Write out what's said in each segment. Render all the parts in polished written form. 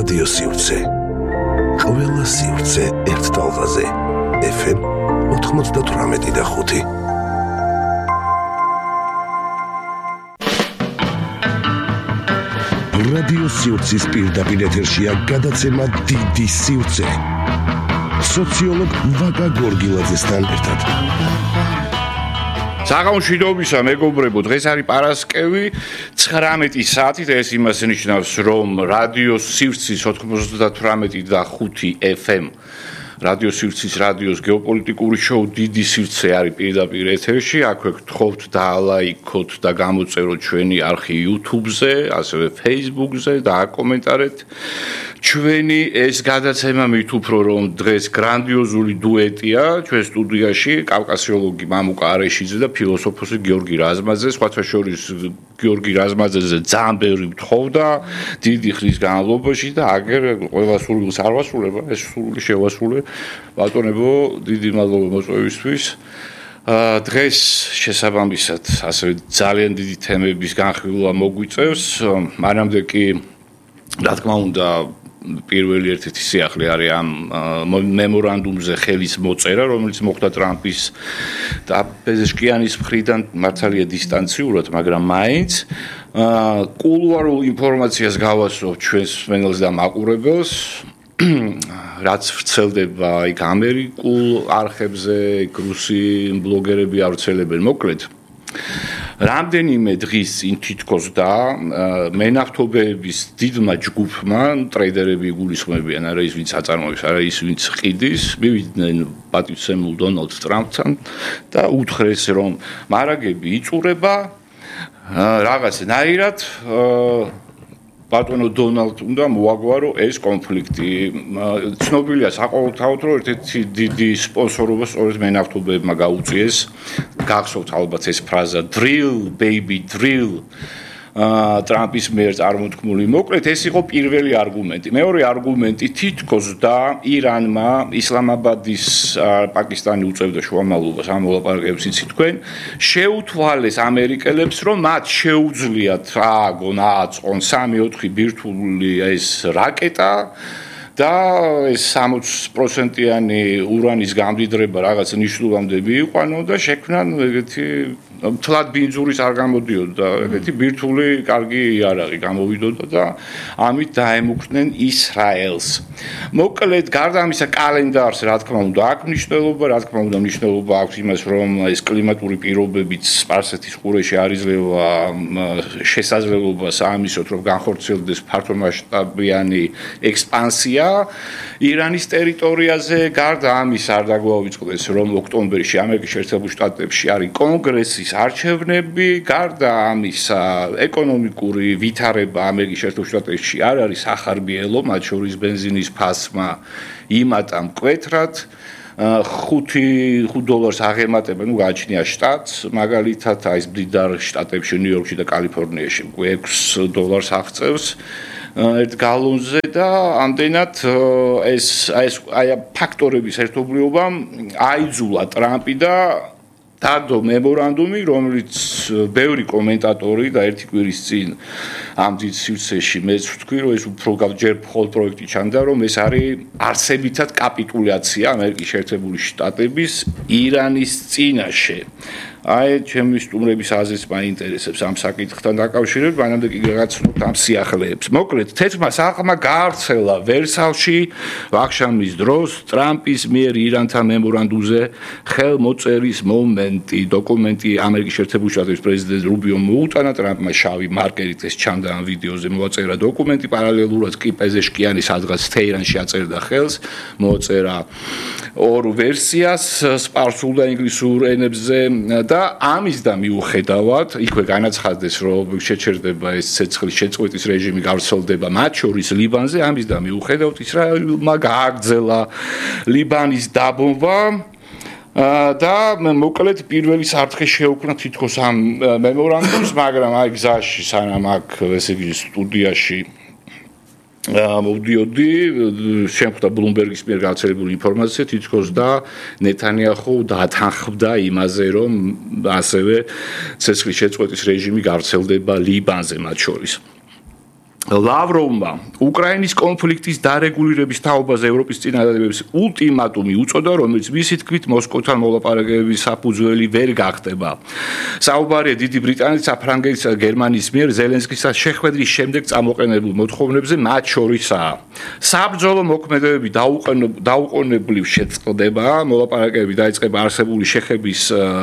რადიო სივრცე. ყველა სივრცე ერთ ტალღაზე. FM 98.5. რადიო სივრცის პირდაპირ ეთერშია გადაცემა დიდი სივრცე. სოციოლოგ ვაკა გორგილაძესთან ერთად. საღამოშიდობისა მეგობრებო, დღეს არის პარასკევი 19 საათით, ეს იმას ნიშნავს, რომ რადიო სივრცის 98.5 FM რადიო სივრცის რადიოს გეოპოლიტიკური შოუ დიდი სივრცე არის პირდაპირ ეთერში. აქვე გთხოვთ დაალაიქოთ და გამოწეროთ ჩვენი არხი YouTube-ზე, ასევე Facebook-ზე და აკომენტარეთ ჩვენი ეს გადაცემა. მით უფრო რომ დღეს გრანდიოზული დუეტია ჩვენ სტუდიაში, კავკასიოლოგი მამუკა არეშიძე და ფილოსოფოსი გიორგი რაზმაძე. სხვათა შორის გიორგი რაზმაძეზე ძალიან ბევრი მთხოვდა დიდი ხნის განმავლობაში და აგერ ყველა სურვილს არ ვასრულება, ეს სურვილი შევასრულე. ბატონებო, დიდი მადლობა მოწვევისთვის. დღეს შესაბამისად ასევე ძალიან დიდი თემების განხილვა მოგვიწევს. მანამდე კი რა თქმა უნდა პირველი ერთ-ერთი სიახლე არის ამ მემორანდუმზე ხელის მოწერა, რომელიც მოხდა ტრამპის და პეზეშკიანის მხრიდან მართალია დისტანციურად, მაგრამ მაინც კულუარულ ინფორმაციას გავასწრებ ჩვენს მსმენელს და მაყურებელს. რაც ვრცელდება იქ ამერიკულ არხებზე, რუსი ბლოგერები ავრცელებენ. მოკლედ რამდენიმე დღის წინ თითქოს და მენαυτობეების დიდმა ჯგუფმა, ტრეიდერები იგულისხმებიან, არა ის ვინც აწარმოებს, არა ის ვინც ყიდის, მივიდნენ პატივცემულ დონალდ ტრამპთან და უთხრეს, რომ მარაგები იწურება რაღაცნაირად ბატონო დონალდ უნდა მოაგვარო ეს კონფლიქტი. ცნობილია საყოველთაოდ, რომ ერთ-ერთი დიდი სპონსორობა სწორედ მენαυτობეებმა გაუწიეს. გახსოვთ ალბათ ეს ფრაზა drill baby drill ტრამპის მიერ წარმოთქმული. მოკლედ ეს იყო პირველი არგუმენტი. მეორე არგუმენტი თითქოს და ირანმა ისლამაბადის პაკისტანი უწევდა შუამავლობას ამ მოლაპარაკებებს იცით თქვენ, შეუთვალეს ამერიკელებს, რომ მათ შეუძლიათ ააგონ ააწყონ 3-4 ბირთვული ეს რაკეტა და ეს 60%-იანი ურანის გამდიდრება რაღაც ნიშნულამდე მიიყვანონ და შექმნან ეგეთი თლად ბინძურის არ გამოდიოდა, ეგეთი ბირთვული კარგი იარაღი გამოვიდოდა და ამით დაემუქრნენ ისრაელს. მოკლედ გარდა ამისა კალენდარს რა თქმა უნდა აქვს მნიშვნელობა, რა თქმა უნდა მნიშვნელობა აქვს იმას, რომ ეს კლიმატური პირობებიც სპარსეთის ყურეში არ იძლევა შესაძლებლობას ამისოთ, რომ განხორციელდეს ფართომასშტაბიანი ექსპანსია ირანის ტერიტორიაზე. გარდა ამის არ დაგვაუწყდეს, რომ ოქტომბერში ამერიკის შეერთებულ შტატებში არის კონგრესის არჩევნები. გარდა ამისა ეკონომიკური ვითარება ამერიკის შეერთებულ შტატებში არ არის ახარბიელო, მათ შორის ბენზინის ფასმა იმატა მკვეთრად. $5 აღემატება, გააჩნია შტატს, მაგალითად აი ეს მდიდარ შტატებში, ნიუ-იორკში და კალიფორნიაში $6 აღწევს ერთ გალონზე და ამდენად ეს ფაქტორების ერთობლიობამ აიძულა ტრამპი და დადო მემორანდუმი, რომელიც ბევრი კომენტატორი და ერთი კვირის წინ ამ დიდ სივრცეში მეც ვთქვი, რომ ეს უფრო ჯერ მხოლოდ პროექტი ჩანდა, რომ ეს არის არსებითად კაპიტულაცია ამერიკის შეერთებული შტატების ირანის წინაშე. აი, ჩემი სტუმრების აზრიც მაინტერესებს ამ საკითხთან დაკავშირებით, მანამდე კი გაგაცნობთ ამ სიახლეებს. მოკლედ, თეთრმა სახლმა გაავრცელა ვერსალში ვახშამის დროს ტრამპის მიერ ირანთან მემორანდუმზე ხელმოწერის მომენტი. დოკუმენტი ამერიკის შეერთებული შტატების პრეზიდენტ რუბიომ მოუტანა, ტრამპმა შავი მარკერით ეს ჩანდა ამ ვიდეოზე მოაწერა დოკუმენტი, პარალელურად კი პეზეშკიანი სადღაც თეირანში აწერდა ხელს, მოაწერა ორ ვერსიას სპარსულ და ინგლისურ ენებზე და ამის და მიუხედავად იქვე განაცხადეს, რომ შეჩერდება ეს ცეცხლის შეწყვეტის რეჟიმი გავრცელდება მათ შორის ლიბანზე. ამის და მიუხედავად ისრაელმა გააგრძელა ლიბანის დაბომბვა და მოკლედ პირველი საფრთხე შეუქმნა თითქოს ამ მემორანდუმს, მაგრამ აი გზაში სანამ აქ ესე იგი სტუდიაში მოვდიოდი, შემხვდა ბლუმბერგის მიერ გავრცელებული ინფორმაცია თითქოს და ნეთანიაჰუ დათანხმდა იმაზე, რომ ასევე ცეცხლის შეწყვეტის რეჟიმი გავრცელდება ლიბანზე მათ შორის. ლავროვმა უკრაინის კონფლიქტის დარეგულირების თაობაზე ევროპის წინადადებებს ულტიმატუმი უწოდა, რომელიც მისი თქმით მოსკოვთან მოლაპარაკებების საფუძველი ვერ გახდება. საუბარია დიდი ბრიტანეთის, საფრანგეთისა და გერმანიის მიერ ზელენსკის შეხვედრის შემდეგ წამოყენებულ მოთხოვნებზე, მათ შორისაა საბრძოლო მოქმედებები დაუყოვნებლივ შეწყდება, მოლაპარაკებები დაიწყება არსებული შეხების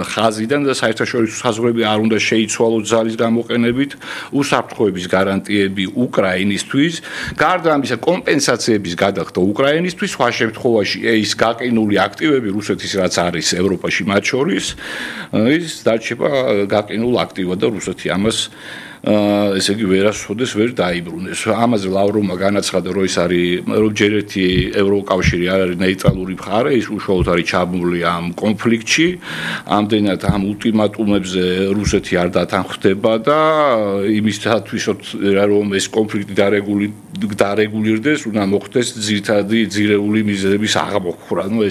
ხაზიდან და საერთაშორისო საზღვრები არ უნდა შეიცვალოს ძალის გამოყენებით, უსაფრთხოების გარანტიები უკრაინისთვის, გარდა ამისა კომპენსაციების გადახდა უკრაინისთვის, სხვა შემთხვევაში ის გაყინული აქტივები რუსეთის რაც არის ევროპაში მათ შორის, ის დარჩება გაყინულ აქტივად და რუსეთი ამას ესე იგი ვერასოდეს ვერ დაიბრუნეს. ამაზე ლავროვმა განაცხადა, რომ ის არის რომ ჯერ ერთი ევროკავშირი არ არის ნეიტრალური მხარე, ის უშუალოდ არის ჩაბმული ამ კონფლიქტში, ამდენად ამ ულტიმატუმებზე რუსეთი არ დათანხმდება და იმისათვის რომ ეს კონფლიქტი დარეგულირდეს, უნდა მოხდეს ძირითადი ძირეული მიზეზების აღმოფხვრა. ნუ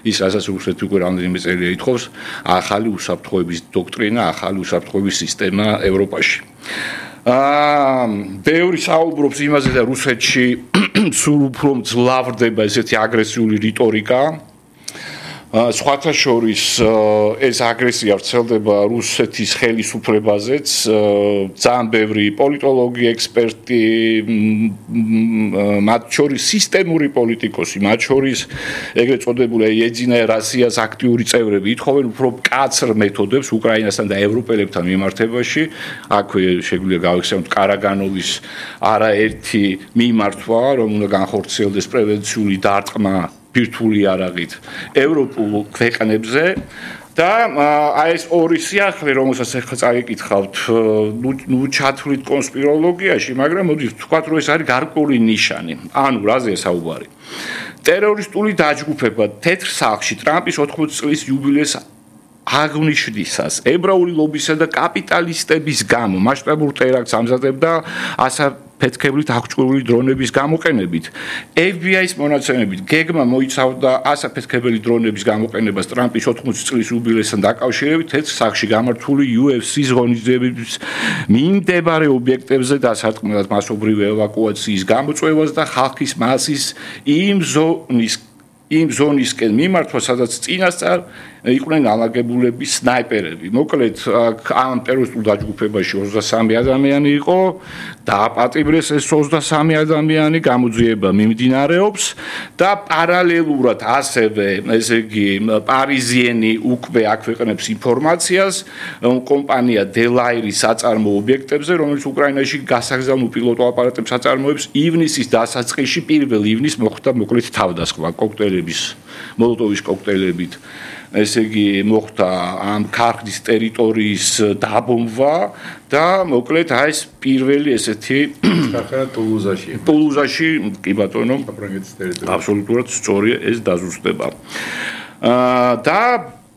ის რასაც რუსეთი უკვე რამდენიმე წელია ითხოვს, ახალი უსაფრთხოების დოქტრინა, ახალი უსაფრთხოების სისტემა ევროპაში. ბევრი საუბრობს იმაზე და რუსეთში სულ უფრო ძლავრდება ესეთი აგრესიული რიტორიკა. სხვათა შორის ეს აგრესია ვრცელდება რუსეთის ხელისუფლებაზეც, ძალიან ბევრი პოლიტოლოგი, ექსპერტი, მათ შორის სისტემური პოლიტიკოსი, მათ შორის ეგრეთ წოდებული ეძინა რასიას აქტიური წევრები ითხოვენ უფრო მკაცრ მეთოდებს უკრაინასთან და ევროპელებთან მიმართებაში. აქვე შეგვიძლია გავიხსენოთ კარაგანოვის არაერთი მიმართვა, რომ უნდა განხორციელდეს პრევენციული დარტყმა ბირთვული არაღით ევროპულ ქვეყნებზე და აი ეს ორი სიახლე, რომელსაც ახლა წაიკითხავთ, ნუ ჩათვლით კონსპიროლოგიაში, მაგრამ მოდით ვთქვათ, რომ ეს არის გარკვეული ნიშანი. ანუ რაზეა საუბარი? ტერორისტული დაჯგუფება თეთრ სახლში ტრამპის 80 წლის იუბილეს აღნიშნისას ებრაული ლობისა და კაპიტალისტების გამო მასშტაბურ ტერაქტს ამზადებდა ასაფეთქებლით აღჭურვილი დრონების გამოყენებით. FBI-ის მონაცემებით გეგმა მოიცავდა ასაფეთქებელი დრონების გამოყენებას ტრამპის 80 წლის იუბილესთან დაკავშირებით თეთრ სახლში გამართული UFC-ის ღონისძიებების მიმდებარე ობიექტებზე დასარტყმელად მასობრივი ევაკუაციის გამოწვევას და ხალხის მასის იმ ზონისკენ მიმართვა, სადაც წინასწარ იყვნენ ალაგებულები სნაიპერები. მოკლედ, ამ ტერორისტულ დაჯგუფებაში 23 ადამიანი იყო, დააპატიმრეს ეს 23 ადამიანი, გამოძიება მიმდინარეობს და პარალელურად ასევე, ესე იგი, პარიზიენი უკვე აქვეყნებს ინფორმაციას კომპანია დელაირის საწარმო ობიექტებზე, რომელიც უკრაინაში გასაგზავნილ პილოტო აპარატებს აწარმოებს. ივნისის დასაწყისში 1 ივნის მოხდა მოკლედ თავდასხმა კოქტეილების, მოლოტოვის კოქტეილებით. ესე იგი მოხდა ამ ქარხნის ტერიტორიის დაბომბვა და მოკლედ აი ეს პირველი ესეთი ქარხანა ტულუზაში. ტულუზაში, კი ბატონო, საფრანგეთის ტერიტორია. აბსოლუტურად სწორია ეს დაზუსტება. და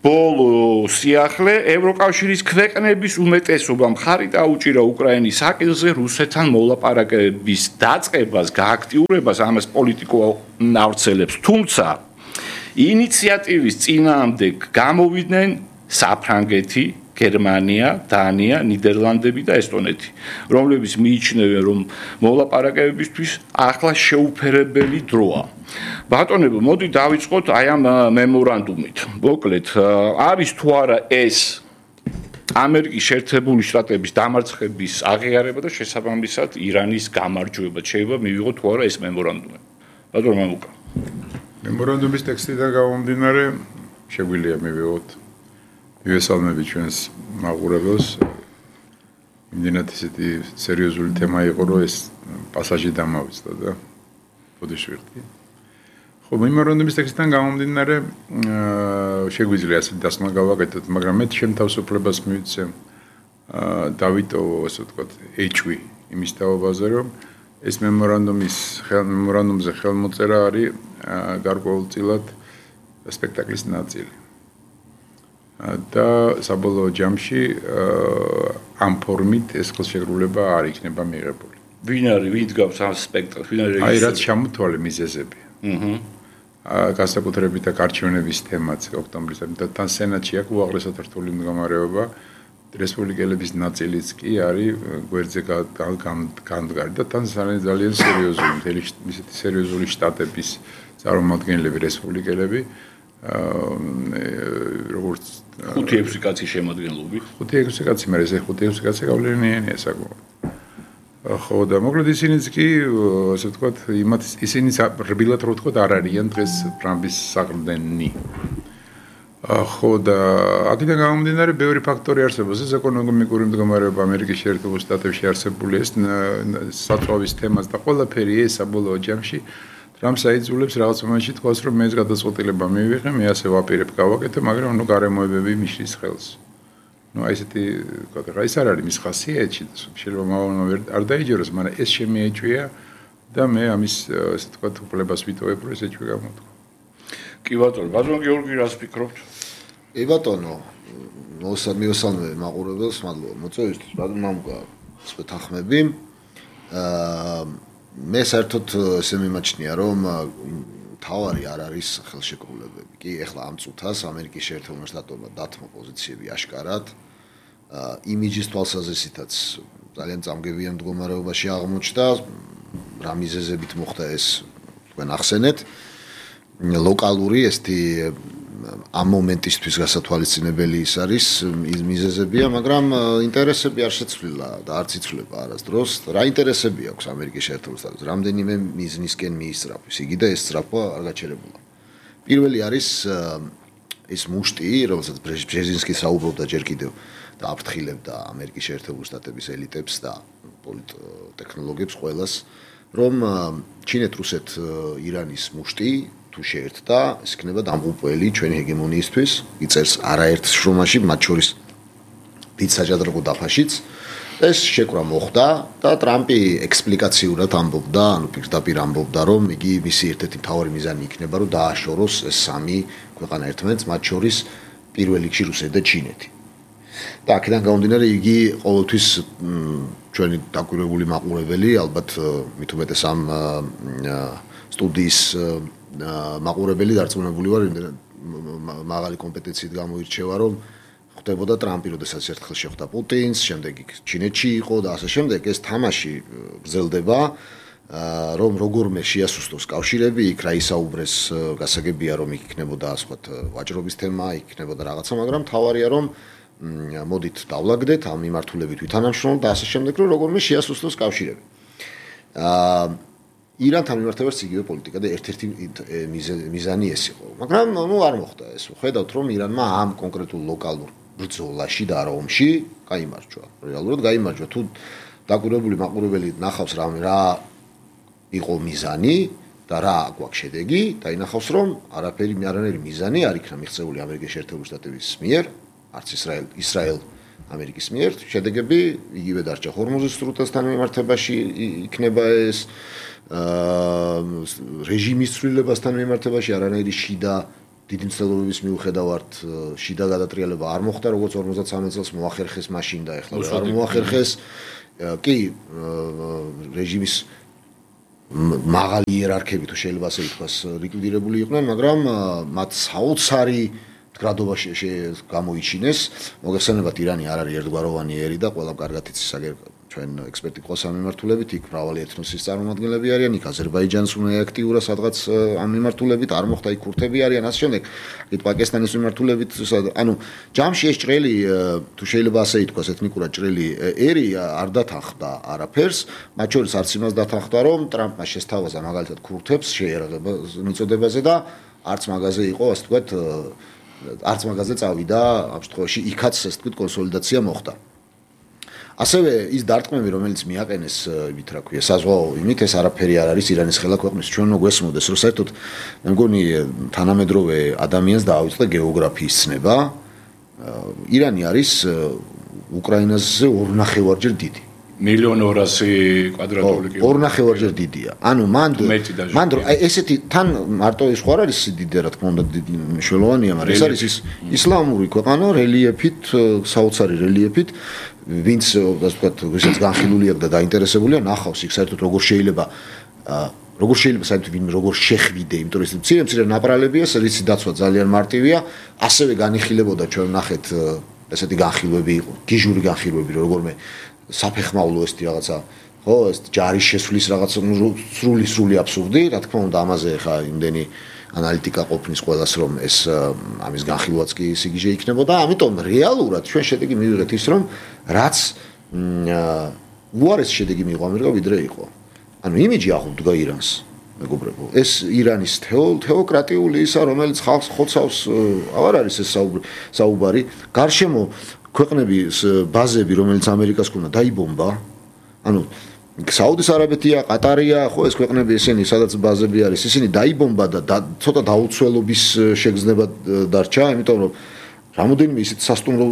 ბოლო სიახლე ევროკავშირის ქვეყნების უმეტესობა მხარი დაუჭირა უკრაინის საკითხზე რუსეთთან მოლაპარაკებების დაწყებას, გააქტიურებას, ამას პოლიტიკო ავრცელებს, თუმცა ინიციატივის წინააღმდეგ გამოვიდნენ საფრანგეთი, გერმანია, დანია, ნიდერლანდები და ესტონეთი, რომლებიც მიიჩნევენ, რომ მოლაპარაკებებისთვის ახლა შეუფერებელი დროა. ბატონებო, მოდი დავიწყოთ აი ამ მემორანდუმით. მოკლედ, არის თუ არა ეს ამერიკის შეერთებული შტატების დამარცხების აღიარება და შესაბამისად ირანის გამარჯვება. შეიძლება მივიღოთ თუ არა ეს მემორანდუმი. ბატონო მამუკა. მემორანდუმის ტექსტიდან გამომდინარე, შეგვიძლია მივიღოთ მივესალმები ჩვენს მაყურებელს. იმდენად ესეთი სერიოზული თემა იყო, რომ ეს პასაჟი დამავიწყდა და ბოდიში ვიხდი. ხო, მემორანდუმის ტექსტიდან გამომდინარე, შეგვიძლია ასეთი დასმა გავაკეთოთ, მაგრამ მე ჩემ თავისუფლებას მივიცე დავიტოვო, ასე ვთქვათ, ეჭვი იმის თაობაზე, რომ ეს მემორანდუმზე ხელმოწერა არის გარკვეულწილად სპექტაკლის ნაწილი. და საბოლოო ჯამში ამ ფორმით ეს ხელშეკრულება არ იქნება მიღებული. ვინ არის, ვინ დგავს ამ სპექტაკლს? ვინ არის? აი რაც ჩამოთვალე მიზეზები. განსაკუთრებით აქ არჩევნების თემაც ოქტომბრის და თან სენატში აქ უაღრესად რთული მდგომარეობა. რესპუბლიკელების ნაწილიც კი არის გვერდზე განდგარი და თან ძალიან სერიოზული მთელი ისეთი სერიოზული შტატების წარმომადგენლები რესპუბლიკელები როგორც 5-6 კაცი შემადგენლობი 5-6 კაცი მე ესე 5-6 კაცი გავლენიანია საკმაოდ ხო და მოკლედ ისინიც კი ასე ვთქვათ ისინი რბილად რო ვთქვათ არ არიან დღეს ტრამპის საყრდენი ხო და აქედან გამომდინარე ბევრი ფაქტორი არსებობს ეს ეკონომიკური მდგომარეობა ამერიკის შეერთებულ შტატებში არსებული ეს საწვავის თემას და ყველაფერი ეს საბოლოო ჯამში ტრამპს აიძულებს რაღაც მომენტში თქვას რომ მე ეს გადაწყვეტილება მივიღე მე ასე ვაპირებ გავაკეთე მაგრამ ნუ გარემოებები მიშლის ხელს ნუ აი ესეთი რა ის არ არის მის ხასიათში შეიძლება მავალმა არ დაიჯეროს მაგრამ ეს შემეეჭვია და მე ამის ასე თქვა უფლებას ვიტოვებ რომ ესე ჩვენ გამოთქვა კი ბატონო ბატონო გიორგი რას ფიქრობთ კი ბატონო მოსამიოსალმე მაყურებელს მადლობა მოწვევისთვის ბატონო მამუკა სპეთახმები მე საერთოდ ესე მიმაჩნია რომ თავარი არ არის ხელშეკრულებები კი ეხლა ამ წუთას ამერიკის შეერთებულ შტატებმა დათმო პოზიციები აშკარად იმიჯის თვალსაზრისითაც ძალიან წამგებიან მდგომარეობაში აღმოჩნდა რა მიზეზებით მოხდა ეს თქვენ ახსენეთ ლოკალური ესეთი ამ მომენტისთვის გასათვალისწინებელი ის არის მიზეზებია, მაგრამ ინტერესები არ შეცვლილა და არც იცვლება არასდროს. რა ინტერესები აქვს ამერიკის შეერთებულ შტატებს? რამდენიმე მიზნისკენ მიისწრაფვის. იგი და ეს სწრაფვა არ გაჩერებულა. პირველი არის ეს მუშტი, რომელსაც ბრეჟინსკი საუბრობდა ჯერ კიდევ და აფრთხილებდა ამერიკის შეერთებულ შტატების ელიტებს და პოლიტტექნოლოგებს ყველას, რომ ჩინეთ, რუსეთ, ირანის მუშტი თუ შეერთდა, ეს იქნება დამღუპველი ჩვენი ჰეგემონიისთვის, იწერს არაერთ შრომაში, მათ შორის დიდ საჯადროგო დაფაშიც. ეს შეკრა მოხდა და ტრამპი ექსპლიკაციურად ამბობდა, ანუ პირდაპირ ამბობდა, რომ იგი მისი ერთ-ერთი მთავარი მიზანი იქნება, რომ დააშოროს ეს სამი ქვეყანა ერთმანეთს, მათ შორის პირველ რიგში რუსეთი და ჩინეთი. და აქედან გამომდინარე, იგი ყოველთვის ჩვენი დაკვირვებული მაყურებელი, ალბათ მით უმეტეს ამ სტუდიის მაყურებელი დარწმუნებული ვარ, მაღალი კომპეტენციით გამოირჩევა, რომ ხდებოდა ტრამპი, როდესაც ერთხელ შეხვდა პუტინს, შემდეგ იქ ჩინეთში იყო და ასე შემდეგ, ეს თამაში გრძელდება, რომ როგორმე შეასუსტოს კავშირები, იქ რა ისაუბრეს, გასაგებია, რომ იქ იქნებოდა ასეთ ვაჭრობის თემა, იქ იქნებოდა რაღაცა, მაგრამ თავარია, რომ მოდით დავლაგდეთ ამ მიმართულებით ვითანამშრომლოთ და ასე შემდეგ, რომ როგორმე შეასუსტოს კავშირები. ირანთან მიმართებაც იგივე პოლიტიკა და ერთ-ერთი მიზანი ეს იყო. მაგრამ ნუ არ მოხდა ეს. ხედავთ რომ ირანმა ამ კონკრეტულ ლოკალურ ბრძოლაში და არა ომში გაიმარჯვა. რეალურად გაიმარჯვა. თუ დაკვირვებული მაყურებელი ნახავს რა იყო მიზანი და რა აქვს შედეგი, დაინახავს რომ არანაირი მიზანი არ იქნა მიღწეული ამერიკის შეერთებული შტატების მიერ, არც ისრაელ ამერიკის მიერ. შედეგები იგივე დარჩა ჰორმუზის სრუტესთან მიმართებაში იქნება ეს რეჟიმის ცვლილებასთან მიმართებაში არანაირი შიდა დიდი მცდელობების მიუხედავად შიდა გადატრიალება არ მოხდა, როგორც 53 წელს მოახერხეს მაშინ და ეხლა არ მოახერხეს. კი, რეჟიმის მაღალი იერარქები თუ შეიძლება ასე ითქვას ლიკვიდირებული იყვნენ, მაგრამ მათ საოცარი მდგრადობა გამოიჩინეს. მოგეხსენებათ, ირანი არ არის ერთგვაროვანი ერი და ყველა კარგად იცის ჩვენ ექსპერტი ყავს ამ მიმართულებით, იქ მრავალი ეთნოსის წარმომადგენლები არიან, იქ აზერბაიჯანს უნდა აქტიურად სადღაც ამ მიმართულებით არ მოხდა, იქ ქურთები არიან, ასე შემდეგ. იქ პაკისტანის მიმართულებით, ანუ ჯამში ეს ჭრელი, თუ შეიძლება ასე ითქვას, ეთნიკურად ჭრელი ერი არ დათანხმდა არაფერს, მათ შორის არც იმას დათანხმდა, რომ ტრამპმა შესთავაზა მაგალითად ქურთებს შეიარაღება მიწოდებაზე და არც მაგაზე იყო, ასე ვთქვათ, არც მაგაზე წავიდა, ამ შემთხვევაში იქაც ასე ვთქვათ კონსოლიდაცია მოხდა. ასევე ის დარტყმები, რომელიც მიაყენეს, იმით რა ქვია, საზღვაო იმით, ეს არაფერი არ არის ირანის ხელა ქვეყნის. ჩვენ უნდა გვესმოდეს, რომ საერთოდ მე მგონი თანამედროვე ადამიანს დაავიწყდა გეოგრაფიის ცნება. ირანი არის უკრაინაზე 2.5-ჯერ დიდი. 1.200.000 კვადრატული კილომეტრი. 2.5-ჯერ დიდია. ანუ მან ესეთი თან მარტო ის ხო არ არის დიდი, რა თქმა უნდა, მნიშვნელოვანია, მაგრამ ეს არის ისლამური ქვეყანა რელიეფით, საოცარი რელიეფით. ვინც ასე ვთქვათ, ვისაც განხილული აქვს და დაინტერესებულია, ნახავს იქ საერთოდ როგორ შეიძლება საერთოდ ვინმე როგორ შეხვიდე, იმიტომ რომ მცირე ნაპრალებია, რისი დაცვა ძალიან მარტივია, ასევე განიხილებოდა ჩვენ ნახეთ ესეთი განხილვები იყო, გიჟური განხილვები, როგორმე საფეხმავლო ესეთი რაღაცა, ხო, ეს ჯარის შესვლის რაღაცა სრული აბსურდი, რა თქმა უნდა, ამაზე ხა იმდენი ანალიტიკა ყოფნის ყველას რომ ეს ამის განხილვაც კი სიგიჟე იქნებოდა, ამიტომ რეალურად ჩვენ შედეგი მივიღეთ ის რომ რაც უარეს შედეგი მიიღო ამერიკა ვიდრე იყო. ანუ იმიჯი ახუდგა ირანს. მეგობრებო, ეს ირანის თეოკრატიული ისა, რომელიც ხალხს ხოცავს, აღარ არის ეს საუბარი. გარშემო ქვეყნების ბაზები, რომელიც ამერიკას ქონდა, დაიბომბა. ანუ საუდის არაბეთია, ყატარია, ხო ეს ქვეყნები ესენი, სადაც ბაზები არის, ისინი დაიბომბა და ცოტა დაუცველობის შეგრძნება დარჩა, იმიტომ რომ რამოდენიმე ისეთ სასტუმრო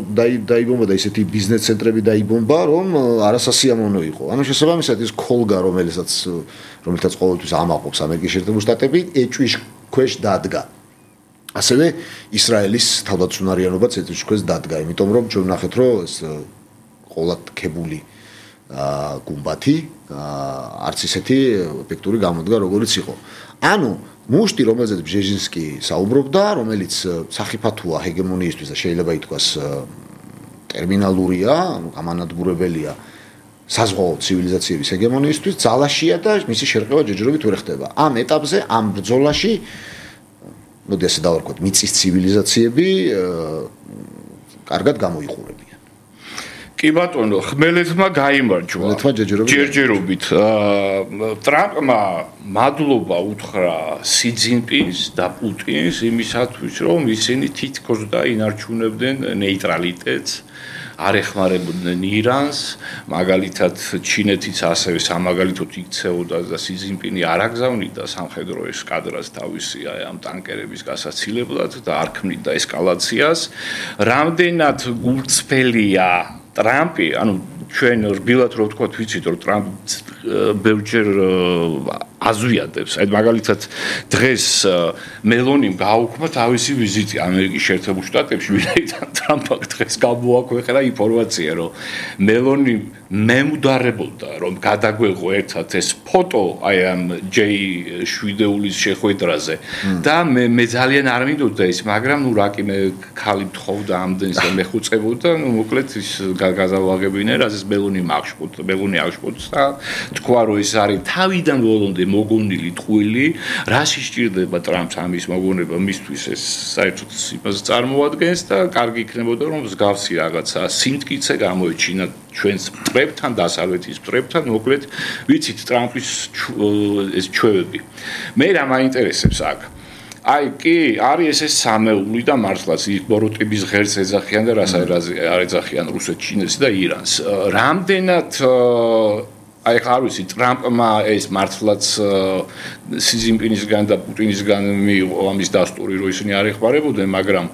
დაიბომბა და ისეთი ბიზნეს ცენტრები დაიბომბა, რომ არასასიამოვნო იყო. ანუ შესაბამისად ის ქოლგა, რომელსაც ყოველთვის ამაყობს ამერიკის შეერთებული შტატები, ეჭვის ქვეშ დადგა. ასევე ისრაელის თავდაცუნარიანობაც ეჭვის ქვეშ დადგა, იმიტომ რომ ჩვენ ვნახეთ, რომ ეს ყოლადქებული გუმბათი არც ისეთი ეფექტური გამოდგა, როგორიც იყო. ანუ მუშტი, რომელზეც ბჟეჟინსკი საუბრობდა, რომელიც სახიფათოა ჰეგემონიისთვის და შეიძლება ითქვას ტერმინალურია, ანუ გამანადგურებელია საზღვაო ცივილიზაციების ჰეგემონიისთვის, ძალაშია და მისი შერყევა ჯერჯერობით ვერ ხდება. ამ ეტაპზე, ამ ბრძოლაში, მოდი ასე დავარქვათ, მიწის ცივილიზაციები კარგად გამოიყურებიან. კი ბატონო, ხმელეთმა გაიმარჯვა. ჯერჯერობით. ტრამპმა მადლობა უთხრა სი ძინპინს და პუტინს იმისათვის, რომ ისინი თითქოს და ინარჩუნებდნენ ნეიტრალიტეტს, არ ეხმარებოდნენ ირანს, მაგალითად ჩინეთიც ასევე სამაგალითოდ იქცეოდა და სი ძინპინი არ აგზავნიდა სამხედრო ესკადრას თავისი ამ ტანკერების გასაცილებლად და არ ქმნიდა ესკალაციას. რამდენად გულწრფელია ტრამპი, ანუ ჩვენ რბილად რო ვთქვათ, ვიცით რომ ტრამპ ბევრჯერ აზვიადებს. აი მაგალითად დღეს მელონიმ გააუქმა თავისი ვიზიტი ამერიკის შეერთებულ შტატებში, ვინაიდან ტრამპმა დღეს გამოაქვეყნა ინფორმაცია, რომ მელონიმ მემუდარებოდა, რომ გადაგვეღო ერთად ეს ფოტო აი ამ ჯეი შვიდეულის შეხვედრაზე და მე ძალიან არ მინდოდა ის, მაგრამ ნუ რა კი მე ხალი მთხოვდა ამდენს და მეხუწებოდა, ნუ მოკლედ ის გაზავაღებინე, რაც ეს მელონი აღშფოთს და თქვა რომ ეს არის თავიდან ბოლომდე მოგონილი ტყუილი, რაში სჭირდება ტრამპს ამის მოგონება მისთვის ეს საერთოდ იმას წარმოადგენს და კარგი იქნებოდა რომ მსგავსი რაღაცა სიმტკიცე გამოეჩინა ჩვენს მტრებთან, დასავლეთის მტრებთან, მოკლედ ვიცით ტრამპის ეს ჩვევები. მე რა მაინტერესებს აქ? აი კი, არის ეს სამეული და მართლაც ბოროტების ღერს ეძახიან და რას არ ეძახიან რუსეთს, ჩინეთს და ირანს. რამდენად აი ხარ ვიცი ტრამპმა ეს მართლაც სი ძინპინისგან და პუტინისგან მიიღო ამის დასტური, რომ ისინი არ ეხმარებოდნენ, მაგრამ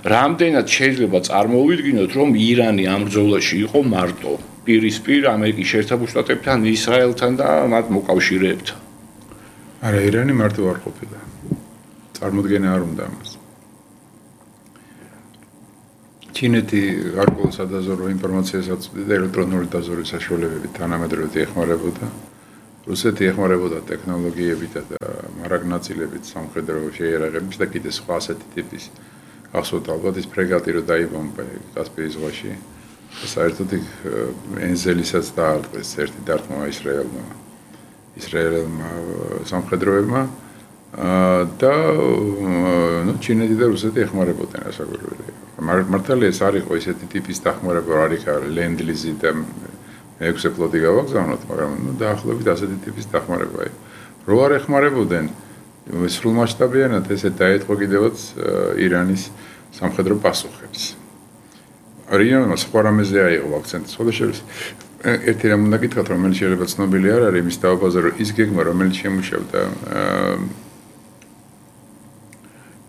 რამდენად შეიძლება წარმოვიდგინოთ, რომ ირანი ამ ბრძოლაში იყო მარტო პირისპირ ამერიკის შეერთებულ შტატებთან, ისრაელთან და მათ მოკავშირეებთან. არა, ირანი მარტო არ ყოფილა. წარმოდგენა არ უნდა ამას. ჩინეთი გარკვეულ სადაზვერვო ინფორმაციას აწვდიდა ელექტრონული დაზვერვის საშუალებებით თანამედროვე ეხმარებოდა. რუსეთი ეხმარებოდა ტექნოლოგიებით და მარაგნაწილებით სამხედრო შეიარაღების და კიდე სხვა ასეთი ტიპის. გახსოვთ ალბათ ის ფრეგატი რო დაიბომბა კასპიის ზღვაში. საერთოდ ენზელისაც დაარტყეს ერთი დარტყმა ისრაელმა სამხედროებმა და ნუ ჩინეთი და რუსეთი ეხმარებოდნენ ასაკურველი. მართალია ეს არ იყო ისეთი ტიპის დახმარება, არ იქა ლენდ-ლიზი და მეექვსე ფლოტი გავაგზავნოთ, მაგრამ ნუ დაახლოებით ასეთი ტიპის დახმარება იყო. რო არ ეხმარებოდნენ სრულმასშტაბიანად ესე დაეთყო კიდევაც ირანის სამხედრო პასუხებს. რიანმა სხვა რამეზე აიღო აქცენტი. სხვადასხვა ერთი რამ უნდა გითხრათ, რომელიც შეიძლება ცნობილი არ არის იმის დაობაზე, რომ ის გეგმა, რომელიც შემუშავდა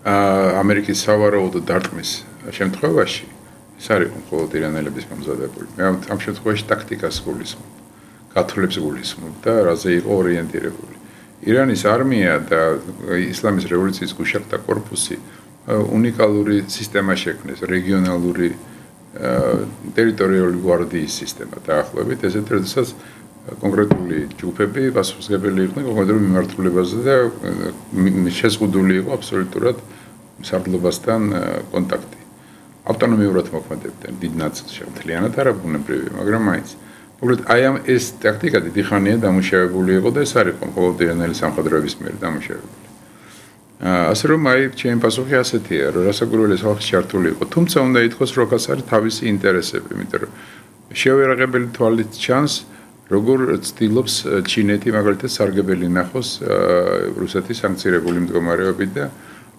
ამერიკის სავარაუდო დარტყმის შემთხვევაში, ეს არ იყო მხოლოდ ირანელების მომზადებული. მე ამ შემთხვევაში ტაქტიკას გულისხმობ, გათვლებს გულისხმობ და რაზე იყო ორიენტირებული. ირანის არმია და ისლამის რევოლუციის გუშაღთა კორპუსი უნიკალური სისტემა შექმნეს, რეგიონალური ტერიტორიული გვარდიის სისტემა დაახლოებით, ესეთ როდესაც კონკრეტული ჯგუფები პასუხისმგებელი იყვნენ კონკრეტულ მიმართულებაზე და შეზღუდული იყო აბსოლუტურად მსარდლობასთან კონტაქტი. ავტონომიურად მოქმედებდნენ დიდ ნაწილში, მთლიანად არა ბუნებრივი, მაგრამ მაინც. მოკლედ, აი ამ ეს ტაქტიკა დიდი ხანია დამუშავებული იყო და ეს არის ყოველდღიურიანი სამხედროების მიერ დამუშავებული. ასე რომ აი ჩემი პასუხი ასეთია, რომ რასაკვირველია ხალხი ჩართული იყო, თუმცა უნდა ითქვას, რომ აქ არის თავისი ინტერესები, იმიტომ რომ შეუერაღებელი თვალით ჩანს, როგორ ცდილობს ჩინეთი მაგალითად სარგებელი ნახოს რუსეთის სანქცირებული მდგომარეობით და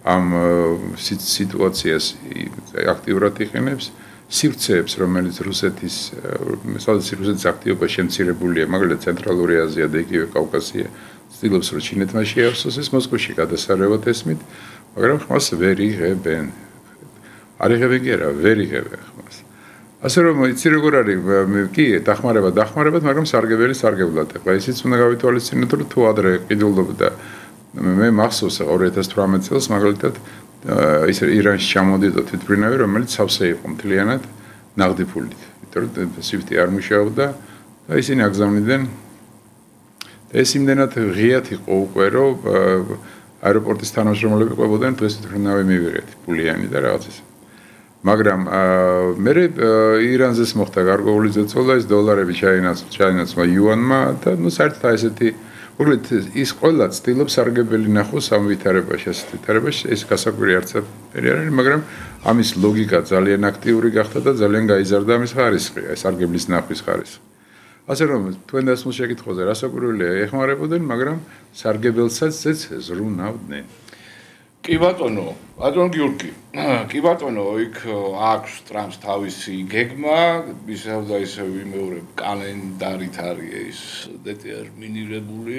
ამ სიტუაციას აქტიურად იყენებს სივრცეებს, რომელიც რუსეთის აქტივობა შემცირებულია, მაგალითად ცენტრალური აზია და იგივე კავკასია, ცდილობს რომ ჩინეთმა შეავსოს ეს მოსკოვში გადასარევად ესმით, მაგრამ ხმას ვერ იღებენ. არ იღებენ კი არა, ვერ იღებენ ხმას. ასე რომ იცი როგორ არის, კი, დახმარებად, მაგრამ სარგებელი სარგებლად. ეხლა ისიც უნდა გავითვალისწინოთ, რომ თუ ადრე ყიდულობდა მე მახსოვს 2018 წელს მაგალითად ის ირანში ჩამოდიოდა თვითმფრინავი, რომელიც სავსე იყო მთლიანად ნაღდი ფულით. იმიტომ რომ SWIFT-ი არ მუშაობდა და ისინი აგზავნიდნენ. ეს იმდენად ღიად იყო უკვე, რომ აეროპორტის თანამშრომლები ყვებოდნენ დღეს თვითმფრინავი მივიღეთ ფულიანი და რაღაც ისე. მაგრამ მე ირანზეც მოხდა გარკვეული ზეწოლა, ეს დოლარები ჩაინაცვლა იუანმა და ნუ საერთოდ ესეთი მოკლედ ის ყველა ცდილობს სარგებელი ნახოს ამ ვითარებაში, ასეთ ვითარებაში, ეს გასაკვირი არც არ არის, მაგრამ ამის ლოგიკა ძალიან აქტიური გახდა და ძალიან გაიზარდა ამის ხარისხი, ეს სარგებლის ნახვის ხარისხი. ასე რომ თქვენ დასმულ შეკითხვაზე რასაკვირველია ეხმარებოდნენ, მაგრამ სარგებელსაც ზრუნავდნენ. კი ბატონო გიორგი, კი ბატონო, იქ აქვს ტრამპს თავისი გეგმა, ისევ და ისევ ვიმეორებ, კალენდარით არის ეს დეტერმინირებული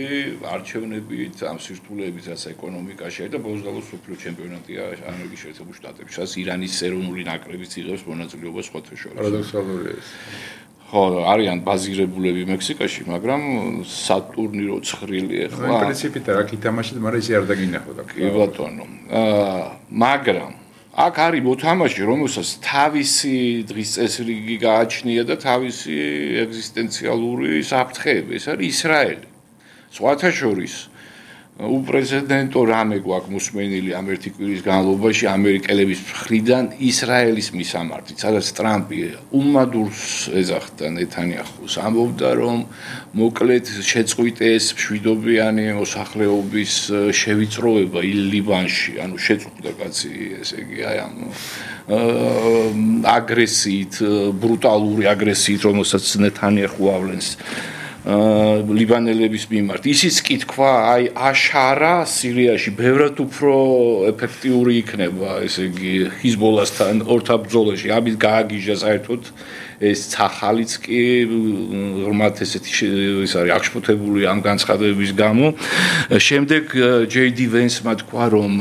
არჩევნებით, ამ სირთულეებით, რაც ეკონომიკაში და ბოლოს სოფლიო ჩემპიონატია ამერიკის შეერთებულ შტატებში, რაც ირანის ეროვნული ნაკრებიც იღებს მონაწილეობას სხვათა შორის. პარადოქსალურია ეს. ხო, არიან ბაზირებულები მექსიკაში, მაგრამ სატურნირო ცხრილი ახლა. პრინციპით რა გითამაშეთ, მაგრამ ისე არ დაგინახავდა. კი ბატონო. მაგრამ აქ არის მოთამაშე, რომელსაც თავისი დღის წესრიგი გააჩნია და თავისი ეგზისტენციალური საფრთხეები, ეს არის ისრაელი. სხვათა შორის უპრეზიდენტო რამე გვაქვს მოსმენილი ამ ერთი კვირის განმავლობაში ამერიკელების მხრიდან ისრაელის მისამართით, სადაც ტრამპი უმადურს ეძახდა ნეთანიაჰუს, ამბობდა რომ მოკლედ შეწყვიტეს მშვიდობიანი მოსახლეობის შევიწროება ლიბანში, ანუ შეწყვიტა კაცი, ესე იგი აი ამ აგრესიით, ბრუტალური აგრესიით, რომელსაც ნეთანიაჰუ ავლენს ლიბანელების მიმართ. ისიც კი თქვა, აი აშარა სირიაში ბევრად უფრო ეფექტიური იქნება, ესე იგი ჰიზბოლასთან ორთაბრძოლაში. ამით გააგიჟა საერთოდ ეს ცახალიც კი ღრმად ესეთი ის არის აღშფოთებული ამ განცხადებების გამო. შემდეგ JD Vance-მა თქვა, რომ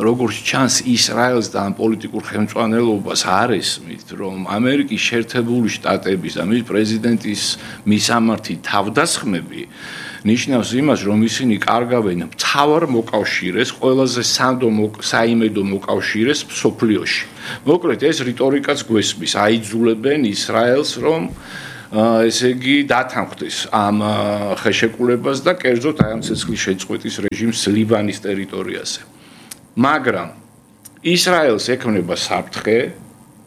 როგორც ჩანს ისრაელს და ამ პოლიტიკურ ხელმძღვანელობას არ ესმით, რომ ამერიკის შეერთებული შტატების და მის პრეზიდენტის მისამართი თავდასხმები ნიშნავს იმას, რომ ისინი კარგავენ მთავარ მოკავშირეს, ყველაზე საიმედო მოკავშირეს მსოფლიოში. მოკლედ ეს რიტორიკაც გვესმის, აიძულებენ ისრაელს, რომ ესე იგი დათანხმდეს ამ ხელშეკრულებას და კერძოდ აი ამ ცეცხლის შეწყვეტის რეჟიმს ლიბანის ტერიტორიაზე. მაგრამ ისრაელს ექნება საფრთხე,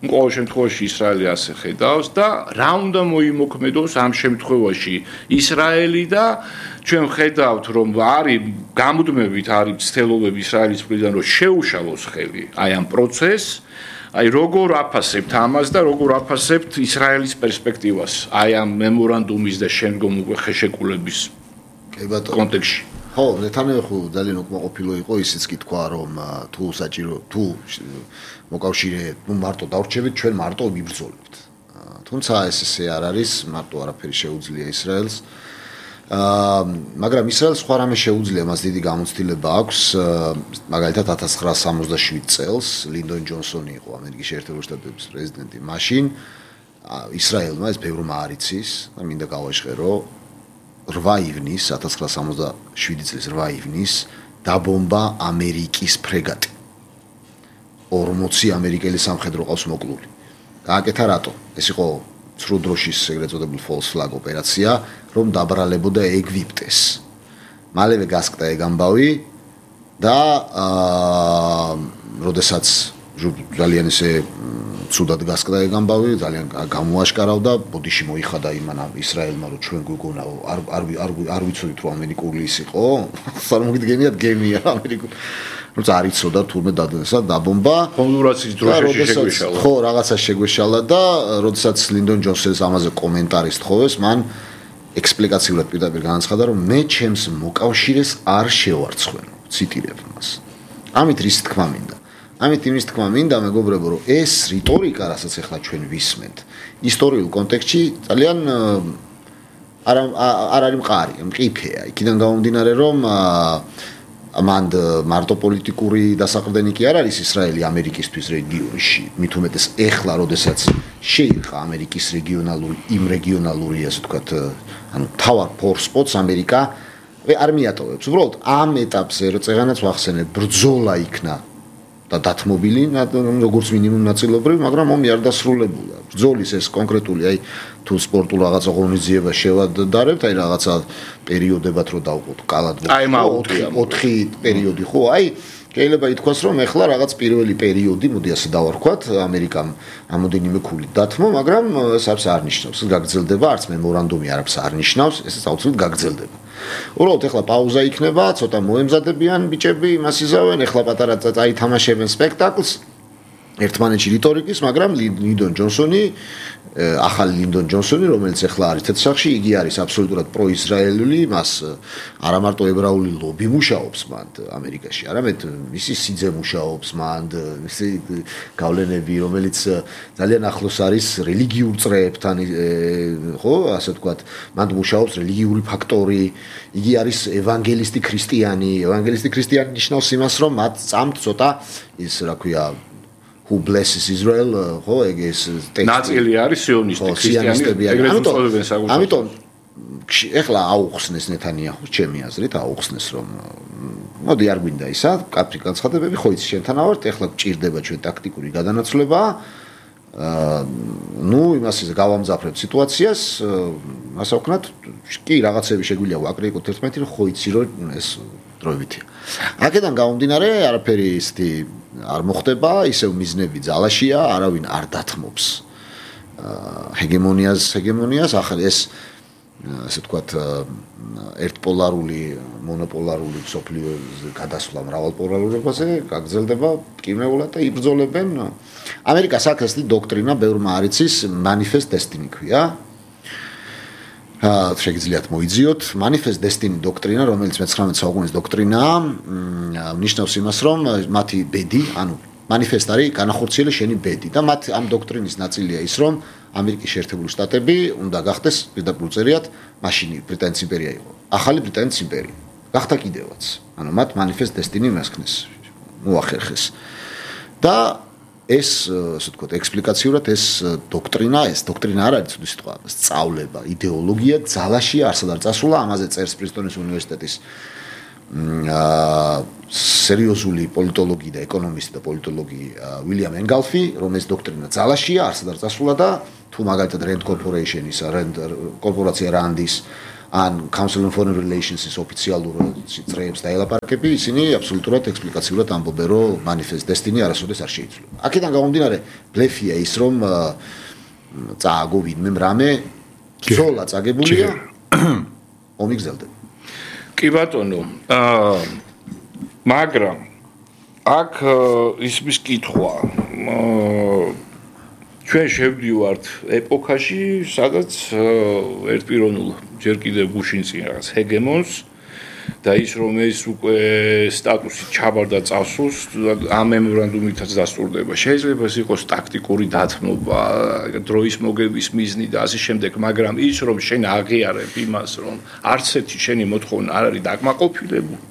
ყოველ შემთხვევაში ისრაელი ასე ხედავს და რა უნდა მოიმოქმედოს ამ შემთხვევაში ისრაელი და ჩვენ ხედავთ, რომ არის გამუდმებით არის ცდილობები ისრაელის მხრიდან, რომ შეუშალოს ხელი აი ამ პროცესს. აი როგორ აფასებთ ამას და როგორ აფასებთ ისრაელის პერსპექტივას აი ამ მემორანდუმის და შემდგომ უკვე ხელშეკრულების კონტექსტში. ხო, ნეთანიაჰუ ძალიან უკმაყოფილო იყო, ისიც კი თქვა, რომ თუ საჭირო, თუ მოკავშირე, მარტო დავრჩებით, ჩვენ მარტო ვიბრძოლებთ. თუმცა ესე არ არის, მარტო არაფერი შეუძლია ისრაელს. მაგრამ ისრაელს სხვა რამე შეუძლია, მას დიდი გამოცდილება აქვს, მაგალითად 1967 წელს ლინდონ ჯონსონი იყო ამერიკის შეერთებული შტატების პრეზიდენტი. მაშინ ისრაელმა ეს ბევრმა არ იცის და მინდა გავაჟღერო 8 ივნის 1967 წლის 8 ივნის დაბომბა ამერიკის ფრეგატი. 40 ამერიკელი სამხედრო ყავს მოკლული. გააკეთა რატო? ეს იყო ცრუ დროშის ეგრეთ წოდებული false flag ოპერაცია, რომ დაბრალებოდა ეგვიპტეს. მალევე გასკდა ეგ ამბავი და როდესაც ძალიან ესე ცუდად გასკდა ეგ ამბავი, ძალიან გამოაშკარავდა, ბოდიში მოიხადა იმან ისრაელმა, რომ ჩვენ გვიგონა არ ვიცოდით რომ ამერიკული ის იყო, წარმოგიდგენიათ გემია ამერიკული. როცა არ იცოდა თურმე დადესა დაბომბა. კონდურაცის დროშაში შეგვეშალა. ხო, რაღაცა შეგვეშალა და როდესაც ლინდონ ჯონსონს ამაზე კომენტარი სთხოვეს, მან ექსპლიკაციურად პირდაპირ განაცხადა, რომ მე ჩემს მოკავშირეს არ შევარცხვენ. ციტირებ მას. ამით რის თქმა მინდა. ამით იმის თქმა მინდა, მეგობრებო, რომ ეს რიტორიკა, რასაც ახლა ჩვენ ვისმენთ, ისტორიულ კონტექსტში ძალიან არ არის მყარი, მყიფეა. იქიდან გამომდინარე, რომ მანდ მარტო პოლიტიკური დასაყრდენი კი არ არის ისრაელი ამერიკისთვის რეგიონში, მით უმეტეს ეხლა, როდესაც შეირყა ამერიკის რეგიონალური, ასე ვთქვათ, ანუ თავარ ფორსპოტს ამერიკა არ მიატოვებს. უბრალოდ ამ ეტაპზე წეღანაც ვახსენებ, ბრძოლა იქნა და დათმობილი, როგორც მინიმუმ ნაწილობრივ, მაგრამ ომი არ დასრულებულა. ბრძოლის ეს კონკრეტული, აი თუ სპორტულ რაღაცა ღონისძიებას შევადარებთ, აი რაღაცა პერიოდებად რო დავყოთ, კალად 4 პერიოდი ხო, აი შეიძლება ითქვას, რომ ეხლა რაღაც პირველი პერიოდი, მოდი ასე დავარქვათ, ამერიკამ რამოდენიმე ქულით დათმო, მაგრამ ეს არ ნიშნავს, გაგრძელდება, არც მემორანდუმი არაფერს არ ნიშნავს, ეს აუცილებლად გაგრძელდება. უბრალოდ ეხლა პაუზა იქნება, ცოტა მოემზადებიან ბიჭები, იმას იზავენ, ეხლა პატარა წაითამაშებენ სპექტაკლს ერთმანეთში რიტორიკის, მაგრამ ლინდონ ჯონსონი, ახალი ლინდონ ჯონსონი, რომელიც ახლა არის თეთრსახში, იგი არის აბსოლუტურად პროისრაელული, მას არა მარტო ებრაული ლობი მუშაობს მანდ ამერიკაში, არამედ მისი სიძე მუშაობს მანდ, მისი გავლენები, რომელიც ძალიან ახლოს არის რელიგიურ წრეებთან, ხო, ასე ვთქვათ, მანდ მუშაობს რელიგიური ფაქტორი, იგი არის ევანგელისტი ქრისტიანი, ევანგელისტი ქრისტიანი ნიშნავს იმას, რომ მათ წამთ ცოტა ის, რა ქვია, who blesses Israel, ხო, ეგ ეს ტექსტი. ნაწილი არის სიონისტი ქრისტიანები, ეგრეთ უწოდებენ საერთოდ. ამიტომ ეხლა აუხსნეს ნეთანიაჰუს, ჩემი აზრით, აუხსნეს, რომ მოდი არ გვინდა ისა, კაფრი განცხადებები, ხო იცი შენთან ავართ, ეხლა გჭირდება ჩვენ ტაქტიკური გადანაცვლება. ნუ იმას ის გავამძაფრებ სიტუაციას, ასე ვქნათ, კი რაღაცები შეგვიძლია ვაკრიტიკოთ ერთმანეთი, რომ ხო იცი, რომ ეს დროებითია. აქედან გამომდინარე, არაფერი ისეთი არ მოხდება, ისევ მიზნები ძალაშია, არავინ არ დათმობს ჰეგემონიას, ახლა ეს ასე ვთქვათ, ერთპოლარული, მონოპოლარული სოფლიოზე გადასვლა მრავალპოლარურობაზე გაგრძელდება კიმეულად და იბრძოლებენ. ამერიკას აქვს ეს დოქტრინა, ბევრმა არ იცის, manifest destiny ქვია. შეგიძლიათ მოიძიოთ manifest destiny დოქტრინა, რომელიც მე-19 საუკუნის დოქტრინაა, ნიშნავს იმას, რომ მათი ბედი, ანუ manifest არის განახორციელე შენი ბედი და მათ ამ დოქტრინის ნაწილია ის, რომ ამერიკის შეერთებული შტატები უნდა გახდეს პირდაპირ წერიათ, მაშინ ბრიტანეთის იმპერია იყო. ახალი ბრიტანეთის იმპერია. გახდა კიდევაც. ანუ მათ manifest destiny მასქნეს, მოახერხეს. და ეს, ასე ვთქვათ, ექსპლიკაციურად ეს დოქტრინა არ არის ცუდი სიტყვა, სწავლება, იდეოლოგია ძალაში არსად არ წასულა, ამაზე წერს პრისტონის უნივერსიტეტის სერიოზული პოლიტოლოგი და ეკონომისტი და პოლიტოლოგი უილიამ ენგალფი, რომ ეს დოქტრინა ძალაშია, არსად არ წასულა და თუ მაგალითად Rand Corporation-ის, კორპორაცია რანდის ან Council on Foreign Relations-ის ოფიციალურ წრეებს დაელაპარაკები, ისინი აბსოლუტურად ექსპლიკაციურად ამბობენ, რომ manifest destiny არასოდეს არ შეიცვლება. აქედან გამომდინარე, ბლეფია ის, რომ წააგო ვინმე რამე ბრძოლა წაგებულია, ომი გრძელდება. კი ბატონო, მაგრამ აქ ისმის კითხვა, ჩვენ შევდივართ ეპოქაში, სადაც ერთპიროვნულ ჯერ კიდევ გუშინწინ რაღაც ჰეგემონს და ის რომ ეს უკვე სტატუსი ჩაბარდა წასულს, ამ მემორანდუმითაც დასტურდება. შეიძლება ეს იყოს ტაქტიკური დათმობა, დროის მოგების მიზნი და ასე შემდეგ, მაგრამ ის რომ შენ აღიარებ იმას, რომ არც ერთი შენი მოთხოვნა არ არის დაკმაყოფილებული,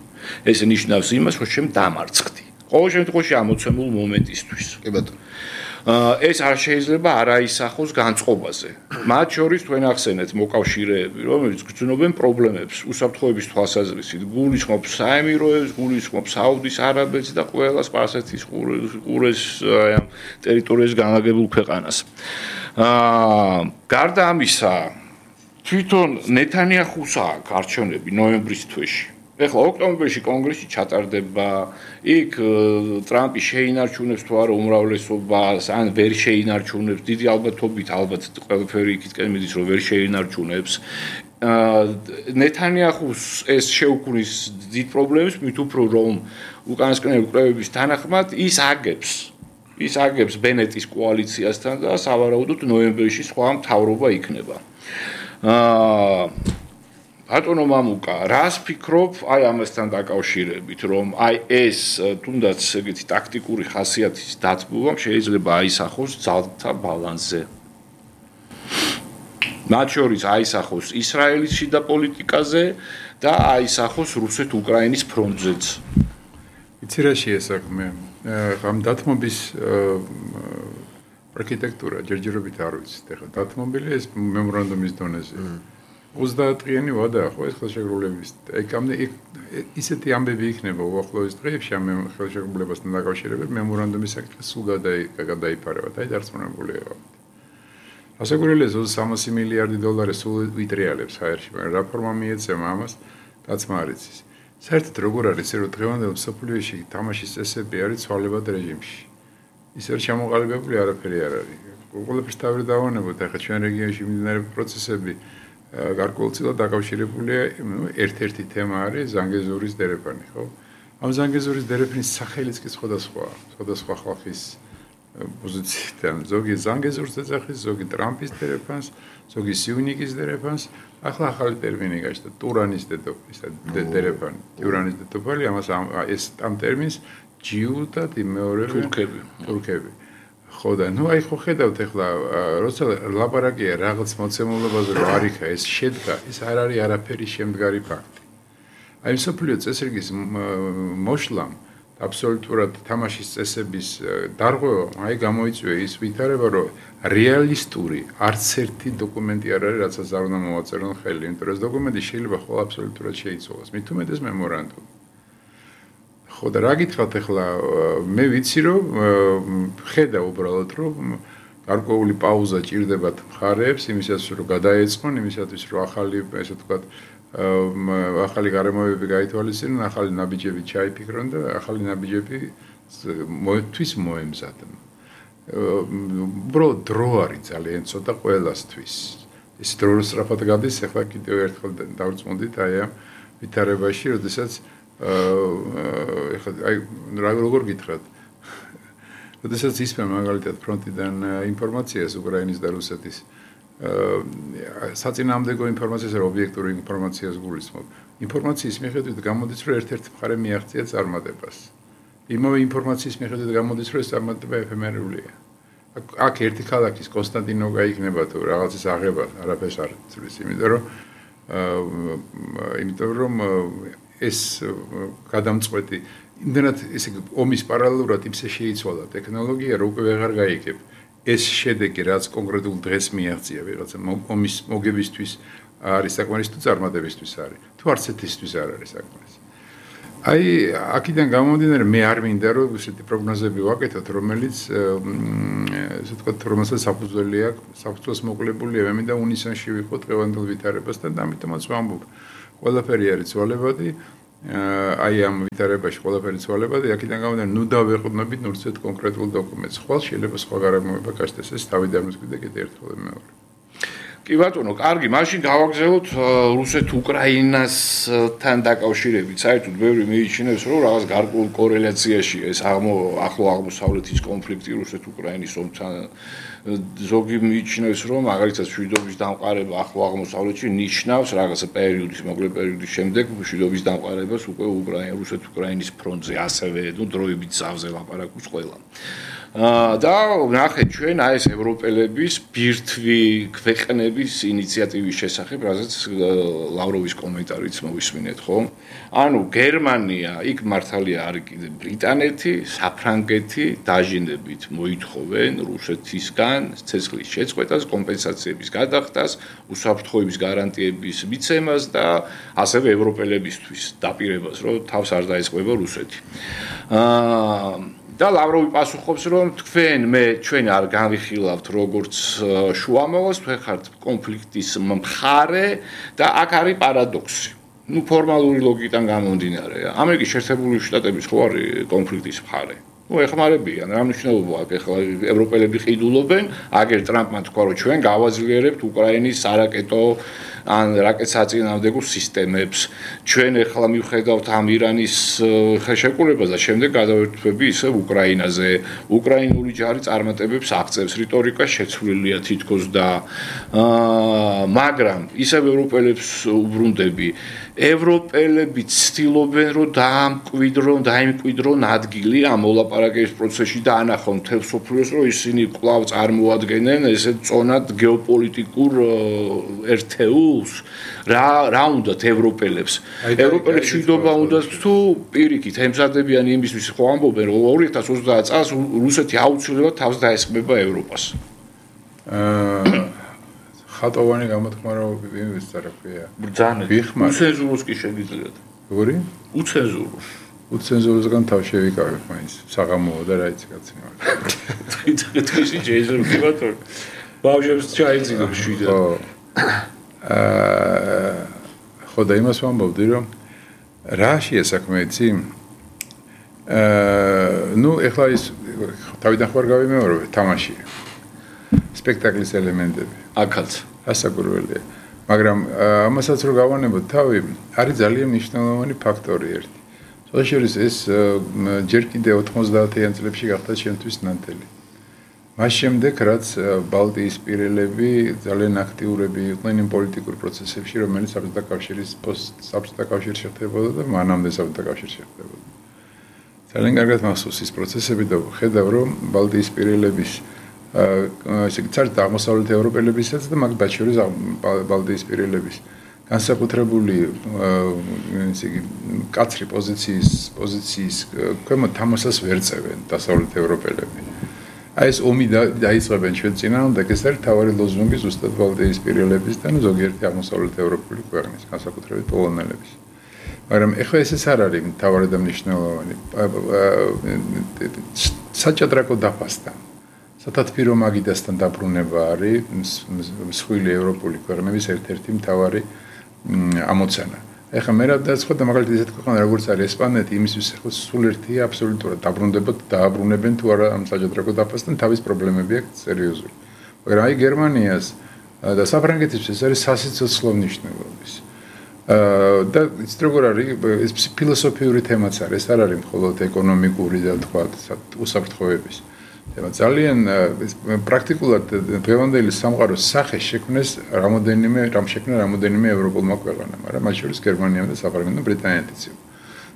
ეს ნიშნავს იმას, რომ შენ დამარცხდი. ყოველ შემთხვევაში ამოცემულ მომენტისთვის. კი ბატონო. ეს არ შეიძლება არ აისახოს განწყობაზე. მათ შორის თქვენ ახსენეთ მოკავშირეები, რომელიც გრძნობენ პრობლემებს უსაფრთხოების თვალსაზრისით, გულისხმობს საემიროებს, გულისხმობს საუდის არაბეთს და ყველა სპარსეთის ყურეს ამ ტერიტორიაზე განლაგებულ ქვეყანას. გარდა ამისა, თვითონ ნეთანიაჰუს აქვს არჩევნები ნოემბრის თვეში. ეხლა ოქტომბერში კონგრესი ჩატარდება, იქ ტრამპი შეინარჩუნებს თუ არა უმრავლესობას, ან ვერ შეინარჩუნებს, დიდი ალბათობით ალბათ ყველაფერი იქითკენ მიდის, რომ ვერ შეინარჩუნებს. ნეთანიაჰუს ეს შეუქმნის დიდ პრობლემებს, მით უფრო რომ უკანასკნელი კვლევების თანახმად ის აგებს ბენეტის კოალიციასთან და სავარაუდოდ ნოემბერში სხვა მთავრობა იქნება. ბატონო მამუკა, რას ფიქრობ აი ამასთან დაკავშირებით, რომ აი ეს თუნდაც ეგეთი ტაქტიკური ხასიათის დათბობამ შეიძლება აისახოს ძალთა ბალანსზე. მათ შორის აისახოს ისრაელის შიდა პოლიტიკაზე და აისახოს რუსეთ-უკრაინის ფრონტზეც. იცი რა შეესაქმე? ამ დათმობის არქიტექტურა ჯერჯერობით არ ვიცით. ეხლა დათმობილი ეს მემორანდუმის დონეზე. 30-დღიანი ვადაა ხო ეს ხელშეკრულების. ისეთი ამბები იქნება უახლოეს დღეებში ამ ხელშეკრულებასთან დაკავშირებით მემორანდუმის საკითხი სულ გადაიფარება და დარწმუნებული ვარ. ასაკურელია 300 მილიარდი დოლარი სულ ვიტრიალებს ჰაერში, მაგრამ რა ფორმა მიეცემა ამას დაცმა არ იცის. საერთოდ როგორ არის რომ დღევანდელ მსოფლიოში თამაშის წესები არის ცვალებად რეჟიმში. ის არ ჩამოყალიბებული არაფერი არ არის. ყველაფერს თავი დავანებოთ, ახლა ჩვენ რეგიონში მიმდინარე პროცესები გარკვეულწილად დაკავშირებულია, ერთ-ერთი თემა არის ზანგეზურის დერეფანი, ხო? ამ ზანგეზურის დერეფნის სახელიც კი სხვადასხვა ხალხის პოზიციიდან, ზოგი ზანგეზურს ეძახის, ზოგი ტრამპის დერეფანს, ზოგი სიუნიკის დერეფანს, ახლა ახალი ტერმინი გაჩნდა, ტურანის დერეფანი, ტურანის დედოფალი, ამას ეს ამ ტერმინს ჯიუდად იმეორებენ თურქები. ხო და ნუ აი ხო ხედავთ ახლა როცა ლაპარაკია რაღაც მოცემულობაზე რომ არ იქა ეს შედგა ეს არ არის არაფერი შემდგარი ფაქტი. აი მსოფლიო წესრიგის მოშლამ აბსოლუტურად თამაშის წესების დარღვევამ აი გამოიწვია ის ვითარება რომ რეალისტური არც ერთი დოკუმენტი არ არის რასაც არ უნდა მოვაწერონ ხელი, იმიტომ რომ ეს დოკუმენტი შეიძლება ხოლმე აბსოლუტურად შეიცვალოს. მით უმეტეს მემორანდუმი. ხო და რა გითხრათ ახლა მე ვიცი რომ ხედა უბრალოდ რომ გარკვეული პაუზა ჭირდებათ მხარეებს იმისათვის რომ გადაეწყონ იმისათვის რომ ახალი ესე ვთქვათ ახალი გარემოებები გაითვალისწინონ ახალი ნაბიჯები ჩაიფიქრონ და ახალი ნაბიჯები თვის მოემზადონ უბრალოდ დრო არის ძალიან ცოტა ყველასთვის ეს დრო სწრაფად გადის ახლა კიდევ ერთხელ დავწმუნდით აი ამ ვითარებაში როდესაც აი როგორ გითხრათ როდესაც ისმენ მაგალითად ფრონტიდან ინფორმაციას უკრაინის და რუსეთის საწინააღმდეგო ინფორმაციას და ობიექტური ინფორმაციას გულისხმობ ინფორმაციის მიხედვით გამოდის რომ ერთ-ერთი მხარე მიაღწია წარმატებას იმავე ინფორმაციის მიხედვით გამოდის რომ ეს წარმატება ეფემერულია აქ ერთი ქალაქის კონსტანტინოვკა იქნება თუ რაღაცის აღება არაფერს არ ცვლის იმიტომ რომ ეს გადამწყვეტი იმდენად ესე ომის პარალელურად იმსე შეიცვალა ტექნოლოგია რომ უკვე ვეღარ გაიგებ ეს შედეგი რაც კონკრეტულ დღეს მიაღწია ვიღაცა ომის მოგებისთვის არის საკმარისი თუ წარმატებისთვის არის თუ არც ეთისთვის არ არის საკმარისი აი აქედან გამომდინარე მე არ მინდა რომ ესეთი პროგნოზები ვაკეთოთ რომელიც ესე ვთქვათ რომელსაც საფუძველს მოკლებულია მე მინდა უნისონში ვიყო დღევანდელ ვითარებასთან და ამიტომაც ვამბობ ყველაფერი არის ცვალებადი აი ამ ვითარებაში ყველაფერი ცვალებადი აქედან გამომდინარე ნუ დავეყრდნობით ნურცეთ კონკრეტულ დოკუმენტს ხვალ შეიძლება სხვა გარემოება გასცეს ეს თავი დამსკვიდე კიდე ერთხელ მეორე კი ბატონო, კარგი, მაშინ გავაგზავნოთ რუსეთ-უკრაინასთან დაკავშირებით. საერთოდ ბევრი მიიჩნევს, რომ რაღაც გარკვეულ კორელაციაში ეს ახლო აღმოსავლეთის კონფლიქტი რუსეთ-უკრაინის ომთან ზოგი მიიჩნევს, რომ მაგალითად მშვიდობის დამყარება ახლო აღმოსავლეთში ნიშნავს რაღაცა პერიოდის, მოკლე პერიოდის შემდეგ მშვიდობის დამყარებას უკვე რუსეთ-უკრაინის ფრონტზე, ასევე დროებით ზავზე ლაპარაკობს ყველა. და ნახეთ ჩვენ აი ეს ევროპელების ბირთვი ქვეყნების ინიციატივის შესახებ, რაზეც ლავროვის კომენტარიც მოვისმინეთ, ხო? ანუ გერმანია, იქ მართალია არის კიდე ბრიტანეთი, საფრანგეთი დაჟინებით მოითხოვენ რუსეთისგან ცეცხლის შეწყვეტას, კომპენსაციების გადახდას, უსაფრთხოების გარანტიების მიცემას და ასევე ევროპელებისთვის დაპირებას, რომ თავს არ დაეწყება რუსეთი. და ლავროვი პასუხობს, რომ ჩვენ არ განვიხილავთ როგორც შუამავლას, თქვენ ხართ კონფლიქტის მხარე და აქ არის პარადოქსი. ну ფორმალური ლოგიკიდან გამომდინარე. ამერიკის შეერთებული შტატების ხო არის კონფლიქტის მხარე. ну ეხმარებიან, რა მნიშვნელობა აქვს ახლა ევროპელები ყიდულობენ, აგერ ტრამპმა თქვა რომ ჩვენ გავაძლიერებთ უკრაინის არაკეტო ან რაკეტსაწინააღმდეგო სისტემებს. ჩვენ ახლა მივხედავთ ამ ირანის ხელშეკრულებას და შემდეგ გადავერთვები ისევ უკრაინაზე. უკრაინული ჯარი წარმატებებს აღწევს, რიტორიკა შეცვლილია თითქოს და მაგრამ ისევ ევროპელებს უბრუნდები. ევროპელები ცდილობენ რომ დაიმკვიდრონ ადგილი ამ მოლაპარაკების პროცესში და ანახონ მთელ მსოფლიოს რომ ისინი კვლავ წარმოადგენენ ესეთ წონად გეოპოლიტიკურ ერთეულს რა უნდათ ევროპელებს ევროპელებს შვიდობა უნდათ თუ პირიქით ემზადებიან იმისთვის ხო ამბობენ რომ 2030 წელს რუსეთი აუცილებლად თავს დაესხმება ევროპას ხატოვანი გამოთქმა რომ იმის რა ქვია ბრძანეთ უცენზუროს კი შეგიძლიათ როგორი უცენზუროსგან თავ შევიკავებ მაინც საღამოა და რა იცი კაცი თვითონ ჯეიზური ბატონი ბავშვებს ჩაიძინო შვიდად ხო და იმას ვამბობდი რომ რაშია საქმე იცი ну ეხლა ის თავიდან ხარ გავიმეორებ თამაში სპექტაკლის ელემენტები აქაც ასაკურველია მაგრამ ამასაც რო გავანებოთ თავი არის ძალიან მნიშვნელოვანი ფაქტორი ერთი სწორედ ეს ჯერ კიდე 90-იან წლებში გახდა შემთთვის ნანტელი მას შემდეგ რაც ბალტიისპირელები ძალიან აქტიურები იყვნენ იმ პოლიტიკურ პროცესებში რომელიც საბჭოთა კავშირის საბჭოთა კავშირში ხდებოდა და მანამდე საბჭოთა კავშირში ხდებოდა ძალიან კარგად მახსოვს ის პროცესები და ხედავ რომ ბალტიისპირელების ესე იგი ცალკე აღმოსავლეთ ევროპელებისაც და მაგ ბაჩორის ბალტიისპირელების განსაკუთრებული ესე იგი კაცრი პოზიციის ქვემოთ თამაშას ვერ წევენ დასავლეთ ევროპელები აი ეს ომი დაიწყებენ ჩვენ წინააღმდეგ ეს არის თავარი ლოზუნგი ზუსტად ბალტიისპირელების და ზოგიერთი აღმოსავლეთ ევროპული ქვეყნის განსაკუთრებით პოლონელების მაგრამ ეხლა ეს არ არის თავარი და მნიშვნელოვანი საჭადრაკო დაფასდა სათათბირო მაგიდასთან დაბრუნება არის მსხვილი ევროპული ქვეყნების ერთ-ერთი მთავარი ამოცანა. ეხლა მე რა დაიწყო და მაგალითად ისეთ ქვეყანა როგორც არის ესპანეთი, იმისთვის ახლა სულ ერთია აბსოლუტურად დაბრუნებენ თუ არა ამ საჭადრაკო დაფასთან თავის პრობლემები აქვს სერიოზული. მაგრამ აი გერმანიას და საფრანგეთის ეს არის სასიცოცხლო მნიშვნელობის. და ის როგორ არის ეს ფილოსოფიური თემაც არის, ეს არ არის მხოლოდ ეკონომიკური და თქვა უსაფრთხოების ძალიან პრაქტიკულად დღევანდელი სამყაროს სახე შექმნეს რამოდენიმე ევროპულმა ქვეყანამ, მაგრამ მათ შორის გერმანიამ და საფრანგეთმა და ბრიტანეთიც იყო.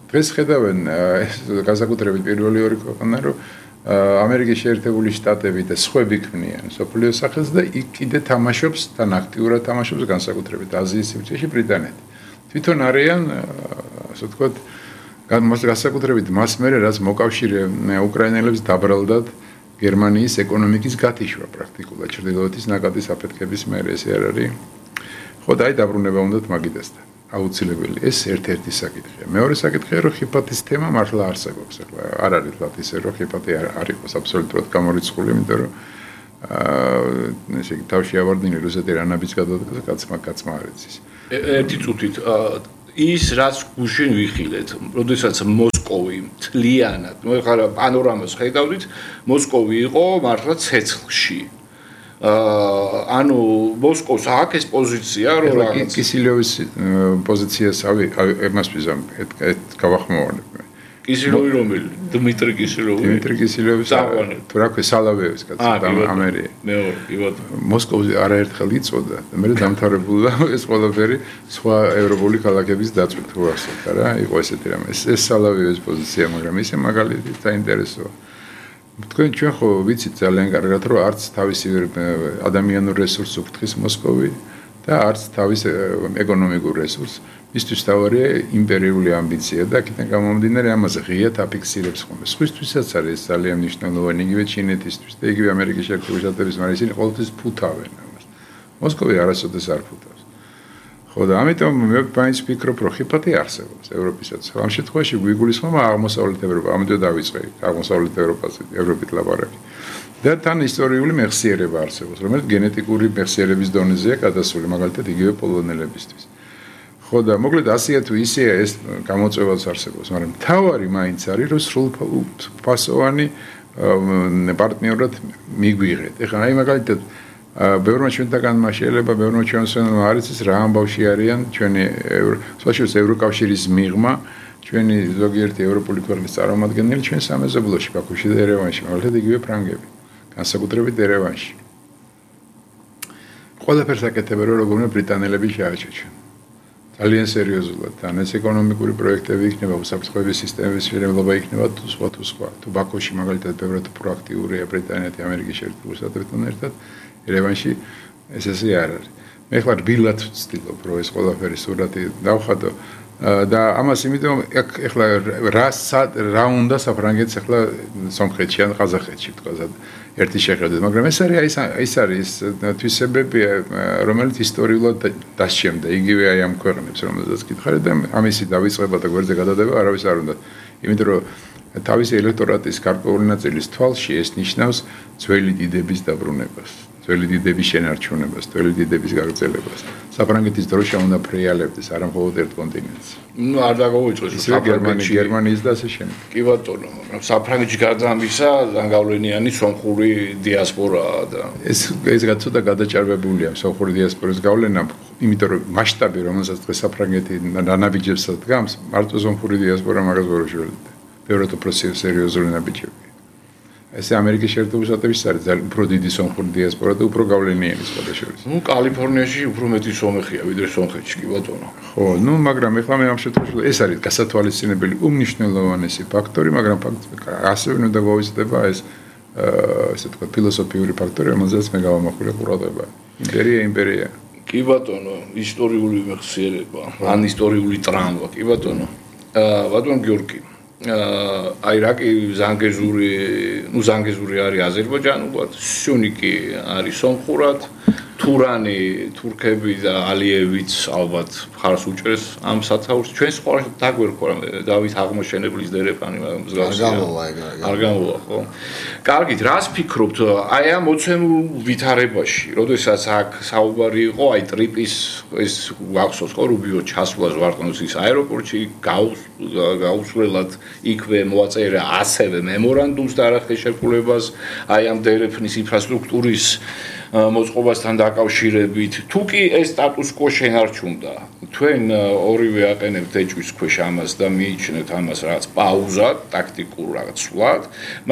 დღეს ხედავენ განსაკუთრებით პირველი ორი ქვეყანა, რომ ამერიკის შეერთებული შტატები და სხვები ქმნიან სოფლიოს სახელს და იქ კიდე თამაშობს თან აქტიურად თამაშობს განსაკუთრებით აზიის სივრცეში ბრიტანეთი. თვითონ არიან ასე ვთქვათ განსაკუთრებით მას მერე რაც მოკავშირე უკრაინელებს დაბრალდათ გერმანიის ეკონომიკის გათიშვა პრაქტიკულად ჩრდილოეთის ნაკადის აფეთქების მერე ეს არ არის. ხო და აი დაბრუნება უნდათ მაგიდასთან. აუცილებელი ეს ერთ-ერთი საკითხია. მეორე საკითხია რომ ხიფათის თემა მართლა არსებობს. ახლა არ არის თქო ისე რომ ხიფათი არ იყოს აბსოლუტურად გამორიცხული, იმიტომ რომ ესე იგი თავში ავარდნილი რუსეთი რანაბიც გადადგა კაცმა არ იცის. ერთი წუთით ის რაც გუშინ ვიხილეთ, როდესაც მოსკოვი მთლიანად, ნუ ეხლა პანორამას ხედავდით, მოსკოვი იყო მართლა ცეცხლში. ანუ მოსკოვს აქვს ეს პოზიცია, რომ რაღაც კისილოვის პოზიციას ემას ვიზამ, გავახმოვანებ. კისილოვი რომელი? დიმიტრი კისილოვი. თუ რა ქვია სალავევის კაცი ამერია. მეორე, იბატო. მოსკოვი არაერთხელ იწოდა და მე დამთავრებულა ეს ყველაფერი სხვა ევროპული ქალაქების დაწვით თუ არსებობს რა, იყო ესეთი რამე. ეს სალავევის პოზიცია, მაგრამ ისე მაგალითად საინტერესოა. თქვენ ჩვენ ხო ვიცით ძალიან კარგად რომ არც თავისი ადამიანურ რესურსს უფრთხის მოსკოვი და არც თავის ეკონომიკურ რესურსს მისთვის თავარია იმპერიული ამბიცია და აქედან გამომდინარე ამაზე ღიად აფიქსირებს ხოლმე. სხვისთვისაც არის ძალიან მნიშვნელოვანი იგივე ჩინეთისთვის და იგივე ამერიკის შეერთებული შტატების, მაგრამ ისინი ყოველთვის ფუთავენ ამას. მოსკოვი არასოდეს არ ფუთავს. ხო და ამიტომ მე მაინც ვფიქრობ რომ ხიფათი არსებობს ევროპისაც. ამ შემთხვევაში გვიგულისხმება აღმოსავლეთ ევროპა, ამდენ დავიწყე აღმოსავლეთ ევროპაზე, ევროპით ლაპარაკი. და თან ისტორიული მეხსიერება არსებობს, რომელიც გენეტიკური მეხსიერების დონეზეა გადასული, მაგალითად იგივე პოლონელებისთვის. ხო და მოკლედ ასეა თუ ისეა ეს გამოწვევაც არსებობს, მაგრამ თავარი მაინც არის რომ სრულფასოვანი პარტნიორად მიგვიღეთ. ეხლა აი მაგალითად ბევრმა ჩვენთაგანმა შეიძლება ბევრმა ჩვენსვენმა არის ის რა ამბავში არიან ჩვენი სპეციალურად ევროკავშირის მიღმა ჩვენი ზოგიერთი ევროპული ქვეყნის წარმომადგენელი ჩვენ სამეზობლოში ბაქოში და ერევანში, მაგალითად იგივე ფრანგები, განსაკუთრებით ერევანში. ყველაფერს აკეთებენ რომ როგორ უნდა ბრიტანელები შეაჩერონ. ძალიან სერიოზულად და ეს ეკონომიკური პროექტები იქნება, უსაფრთხოების სისტემების შექმნა იქნება თუ სხვა. თუ ბაქოში მაგალითად ბევრად პროაქტიურია ბრიტანეთი ამერიკის შეერთებული შტატებთან ერთად, ერევანში ესე არ არის. მე ხარ რბილად ვცდილობ რომ ეს ყველაფერი სურათი დავხატო და ამას იმიტომ ეხლა რა უნდა საფრანგეთს ეხლა სომხეთში ან ყაზახეთში თქვა ერთი შეხედვით, მაგრამ ეს არის თვისებები, რომელიც ისტორიულად დასჩემდა იგივე აი ამ ქვეყნებს, რომელზეც გითხარით და ამისი დავიწყება და გვერდზე გადადება არავის არ უნდა. იმიტომ რომ თავისი ელექტორატის გარკვეული ნაწილის თვალში ეს ნიშნავს ძველი დიდების დაბრუნებას. ძველი დიდების შენარჩუნებას, ძველი დიდების გაგრძელებას. საფრანგეთის დროშა უნდა ფრეალებდეს, არა მხოლოდ ერთ კონტინენტს. ნუ არ დაგავიწყოს გერმანიის და ასე შემდეგ. კი ბატონო, მაგრამ საფრანგეთში გარდა ამისა, გავლენიანი სომხური დიასპორაა და ეს რაც ცოტა გადაჭარბებულია სომხური დიასპორის გავლენა, იმიტომ რომ მასშტაბი, რომელსაც დღეს საფრანგეთი ნაბიჯებს დგამს, მარტო სომხური დიასპორა მაგას ვერ უშველებდა. ბევრად უფრო სერიოზული ნაბიჯები. ეს ამერიკის შეერთებული შტატებში არის ძალიან უფრო დიდი სომხური დიასპორა და უფრო გავლენიანი სხვადასხვა. ნუ კალიფორნიაში უფრო მეტი სომეხია ვიდრე სომხეთში, კი ბატონო. ხო, ნუ მაგრამ ეხლა მე ამ შემთხვევაში ეს არის გასათვალისწინებელი უმნიშვნელოვანესი ფაქტორი, მაგრამ ასევე უნდა გავიზრდება ეს ესე ვთქვათ ფილოსოფიური ფაქტორი, რომელზეც მე გავამახვილე ყურადღება. იმპერია. კი ბატონო, ისტორიული მეხსიერება, ან ისტორიული ტრამვა, კი ბატონო. ბატონ გიორგი აი რაკი ზანგეზური არის აზერბაიჯანულად, სუნიკი არის სომხურად, თურანი, თურქები და ალიევიც ალბათ მხარს უჭერს ამ სათაურს. ჩვენ სხვა დაგვერქვა დავით აღმოჩენებლის დერეფანი მსგავსია. არ გამოვა, ხო? კარგით, რას ფიქრობთ აი ამ მოცემულ ვითარებაში, როდესაც აქ საუბარი იყო აი ტრიპის ეს გახსოვს ხო რუბიო ჩასვლა ზვარტონსის აეროპორტში, გაუსვლელად იქვე მოაწერა ასევე მემორანდუმს და არახეშეკულებას აი ამ დერეფნის ინფრასტრუქტურის მოწყობასთან დაკავშირებით. თუ კი ეს სტატუს კო შენარჩუნდა, თქვენ ორივე აყენებთ ეჭვის ქვეშ ამას და მიიჩნევთ ამას რაღაც პაუზად, ტაქტიკურ რაღაც სვლად,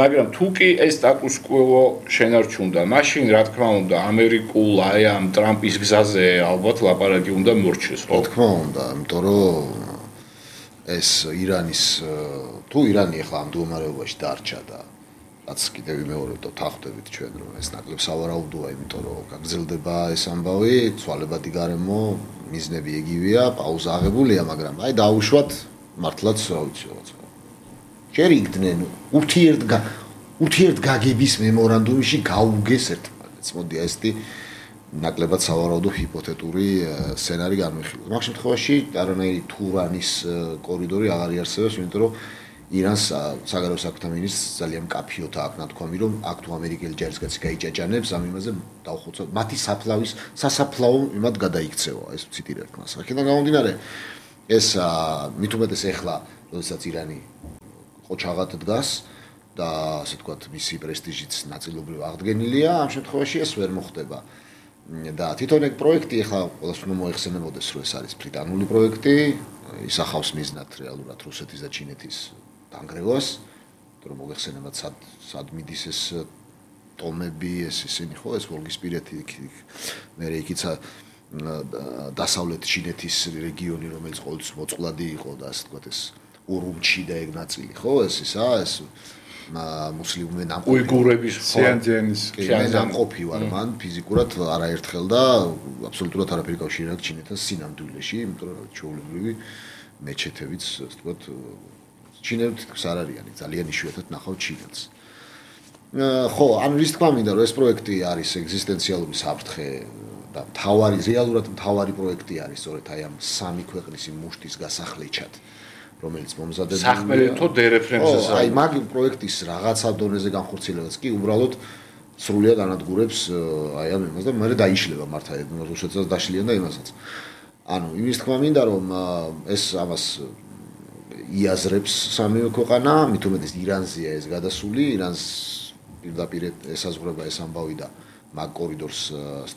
მაგრამ თუ კი ეს სტატუს კო შენარჩუნდა, მაშინ რა თქმა უნდა ამერიკულ აი ამ ტრამპის გზაზე ალბათ ლაპარაკი უნდა მორჩეს, ხო? რა თქმა უნდა, იმიტომ რომ ეს ირანის თუ ირანი ახლა ამ მდგომარეობაში დარჩა და რაც კიდევ ვიმეორებ და თახვდებით ჩვენ რომ ეს ნაკლებ სავარაუდოა, იმიტომ რომ გაგრძელდება ეს ამბავი, ცვალებადი გარემო, მიზნები იგივეა, პაუზა აღებულია, მაგრამ აი დაუშვათ მართლაც რა ვიცი რაღაც. ჯერ იგდნენ ურთიერთგაგების მემორანდუმში გაუგეს ერთმანეთს. მოდი ესეთი ნაკლებად სავარაუდო ჰიპოთეტური სცენარი განვიხილოთ. მაგ შემთხვევაში არანაირი თურანის კორიდორი აღარ იარსებობს, იმიტომ რომ ირანს საგარეო საქმეთა მინისტრს ძალიან მკაფიოდ აქვს ნათქვამი, რომ აქ თუ ამერიკელი ჯარისკაცი გაიჭაჭანებს, ამ იმაზე დავხოცოთ, მათი სასაფლაო იმად გადაიქცევა, ეს ვციტირებთ მას. აქედან გამომდინარე, ეს მით უმეტეს ეხლა, როდესაც ირანი ყოჩაღად დგას და ასე ვთქვათ, მისი პრესტიჟიც ნაწილობრივ აღდგენილია, ამ შემთხვევაში ეს ვერ მოხდება. და თვითონ ეგ პროექტი ახლა ყველას უნდა მოეხსენებოდეს, რომ ეს არის ბრიტანული პროექტი, ისახავს მიზნად რეალურად რუსეთის და ჩინეთის დანგრევას, რომ მოეხსენებათ სად მიდის ეს ტომები, ეს ისინი ხო, ეს ვოლგისპირეთი, მე იქიცა დასავლეთ ჩინეთის რეგიონი, რომელიც ყოველთვის მოწყვლადი იყო და ასე ვთქვათ ეს ურუმჩი და ეგ ნაწილი, ხო, ეს ისა, ეს მუსლიმები ნამყოფი უიგურების სიანძიანის ნამყოფი ვარ მან ფიზიკურად არაერთხელ და აბსოლუტურად არაფერი კავშირი აქვს ჩინეთთან სინამდვილეში, იმიტომ რომ ჩვეულებრივი მეჩეთებიც ასე ვთქვათ ჩინეთს არ არიანი, ძალიან იშვიათად ნახავთ ჩინეთს. ხო, ანუ რის თქმა მინდა რომ ეს პროექტი არის ეგზისტენციალური საფრთხე და რეალურად მთავარი პროექტი არის სწორედ აი ამ სამი ქვეყნის მუშტის გასახლეჩად, რომელიც მომზადებული სახმელეთო დერეფრენსზე. აი მაგ პროექტის რაღაცა დონეზე განხორციელებაც კი უბრალოდ სრულიად ანადგურებს აი ამ იმას და მე დაიშლება მართა რუსეთსაც დაშლიან და იმასაც. ანუ იმის თქმა მინდა რომ ეს ამას იაზრებს სამივე ქვეყანა, მით უმეტეს ირანზეა ეს გადასული, ირანს პირდაპირ ესაზღვრება ეს ამბავი და მაგ კორიდორს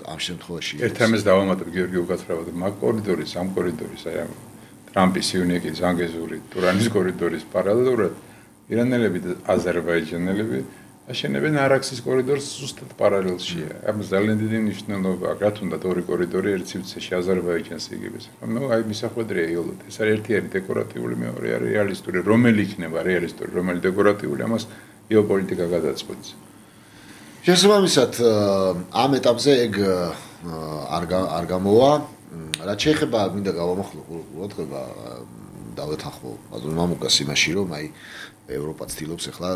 ამ შემთხვევაში ერთ ამას დავამატებ გიორგი უკაცრავად მაგ კორიდორის ამ კორიდორის აი ამ ტრამპის იუნიკის ანგეზური ტურანის კორიდორის პარალელურად ირანელები და აზერბაიჯანელები აშენებენ არაქსის კორიდორს ზუსტად პარალელშია. ამ ძალიან დიდი მნიშვნელობა აქვს, რა თუნდაც ორი კორიდორი ერთ სივრცეში აზერბაიჯანს იგებს. ნუ აი მისახვედრია იოლოდ. ეს არის ერთი არის დეკორატიული, მეორე არის რეალისტური. რომელი იქნება რეალისტური, რომელი დეკორატიული, ამას გეოპოლიტიკა გადაწყვეტს. შესაბამისად, ამ ეტაპზე ეგ არ გამოვა. რაც შეეხება მინდა გავამახვილო ყურადღება დავეთანხმო ბაზონ მამუკას იმაში, რომ აი ევროპა ცდილობს ახლა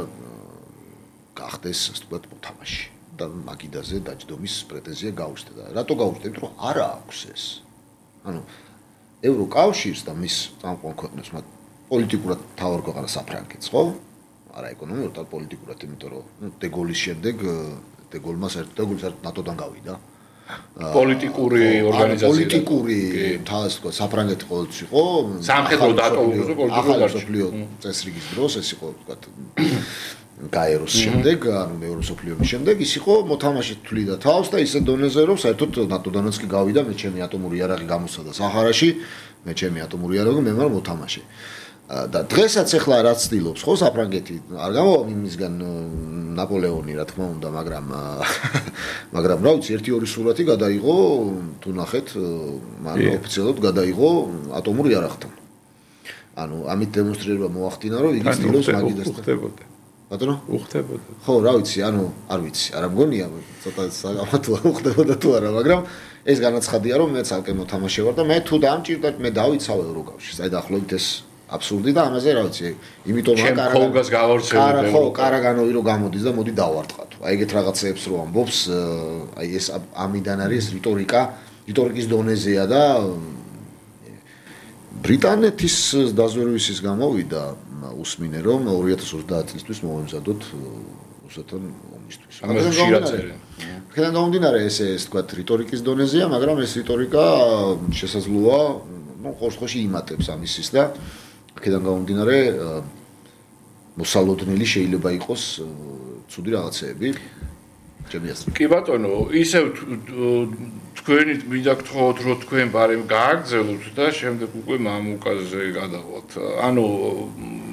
გახდეს ასე ვთქვათ მოთამაშე და მაგიდაზე დაჯდომის პრეტენზია გაუჩნდა და რატო გაუჩნდა? იმიტომ რომ არა აქვს ეს. ანუ ევროკავშირს და მის წამყვან ქვეყნებს მათ პოლიტიკურად თავარ ქვეყანა საფრანგეთს, ხო? არა ეკონომიურად, αλλά პოლიტიკურად, იმიტომ რომ დეგოლის შემდეგ დეგოლმა საერთოდ ნატოდან გავიდა. პოლიტიკური ორგანიზაცია. პოლიტიკური თავს თქვა საფრანგეთი ყოველთვის იყო სამხედრო დატოვებაზე პოლიტიკური გარშემო წესრიგის დროს ეს იყო თქვა გაეროს შემდეგ, ანუ მეორე მსოფლიო ომის შემდეგ ის იყო მოთამაშე თვლიდა თავს და ისე დონეზე რომ საერთოდ ნატოდანაც კი გავიდა მე ჩემი ატომური იარაღი გამოსცადა საჰარაში, მე ჩემი ატომური იარაღი მე ვარ მოთამაშე. და დღესაც ახლა რაც ცდილობს ხო საფრანგეთი არ გამოვა იმისგან ნაპოლეონი რა თქმა უნდა, მაგრამ რა ვიცი ერთი ორი სურათი გადაიღო თუ ნახეთ მან ოფიციალურად გადაიღო ატომურ იარაღთან. ანუ ამით დემონსტრირება მოახდინა რომ იგი ცდილობს მაგიდასთან. ბატონო? უხდებოდა. ხო, რა ვიცი, ანუ არ ვიცი, არა მგონია, ცოტა საგამართლოა უხდებოდა თუ არა, მაგრამ ეს განაცხადია რომ მე ცალკე მოთამაშე ვარ და მე თუ დამჭირდა მე დავიცავ ევროკავშირს. აი დაახლოებით ეს აბსურდი და ამაზე რა ვიცი, იმიტომ რომ კარაგანოვი რო გამოდის და მოდი დავარტყათ. აი ეგეთ რაღაცეებს რო ამბობს, აი ეს ამიდან არის რიტორიკის დონეზეა და ბრიტანეთის დაზვერვისის გამოვიდა უსმინე რომ 2030 წლისთვის მოვემზადოთ რუსეთთან ომისთვის. აქედან გამომდინარე ეს თქვათ რიტორიკის დონეზეა, მაგრამ ეს რიტორიკა შესაძლოა, ნუ ყოველში იმატებს ამისის და აქედან გამომდინარე მოსალოდნელი შეიძლება იყოს ცუდი რაღაცეები. კი ბატონო, ისევ თქვენი მინდა გთხოვოთ რომ თქვენ ბარემ გააგრძელოთ და შემდეგ უკვე მამუკაზე გადავალთ. ანუ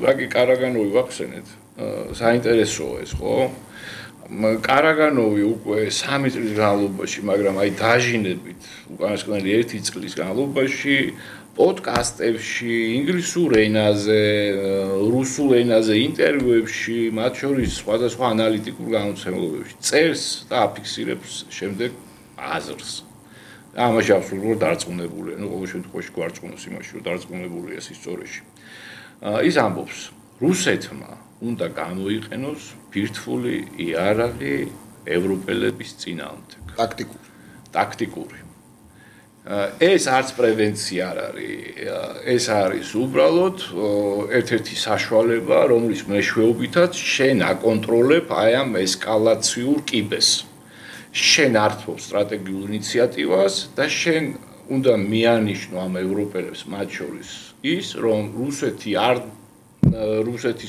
რაკი კარაგანოვი ვახსენეთ. საინტერესოა ეს, ხო? კარაგანოვი უკვე 3 წლის განმავლობაში, მაგრამ აი დაჟინებით უკანასკნელი 1 წლის განმავლობაში პოდკასტებში, ინგლისურ ენაზე, რუსულ ენაზე ინტერვიუებში, მათ შორის სხვადასხვა ანალიტიკურ გამოცემებებში წერს და აფიქსირებს შემდეგ აზრს. ამაში აბსოლუტურად დარწმუნებულია, ნუ ყოველ შემთხვევაში გვარწმუნოს იმაში, რომ დარწმუნებულია ის ისტორიაში. ის ამბობს, რუსეთმა უნდა გამოიყენოს ბირთვული იარაღი ევროპელების წინააღმდეგ. ტაქტიკური. ეს არც პრევენცია არ არის, ეს არის უბრალოდ ერთ-ერთი საშუალება, რომლის მეშვეობითაც შენ აკონტროლებ აი ამ ესკალაციურ კიბეს. შენ ართმობ სტრატეგიულ ინიციატივას და შენ უნდა მიანიშნო ამ ევროპელებს მათ შორის ის, რომ რუსეთის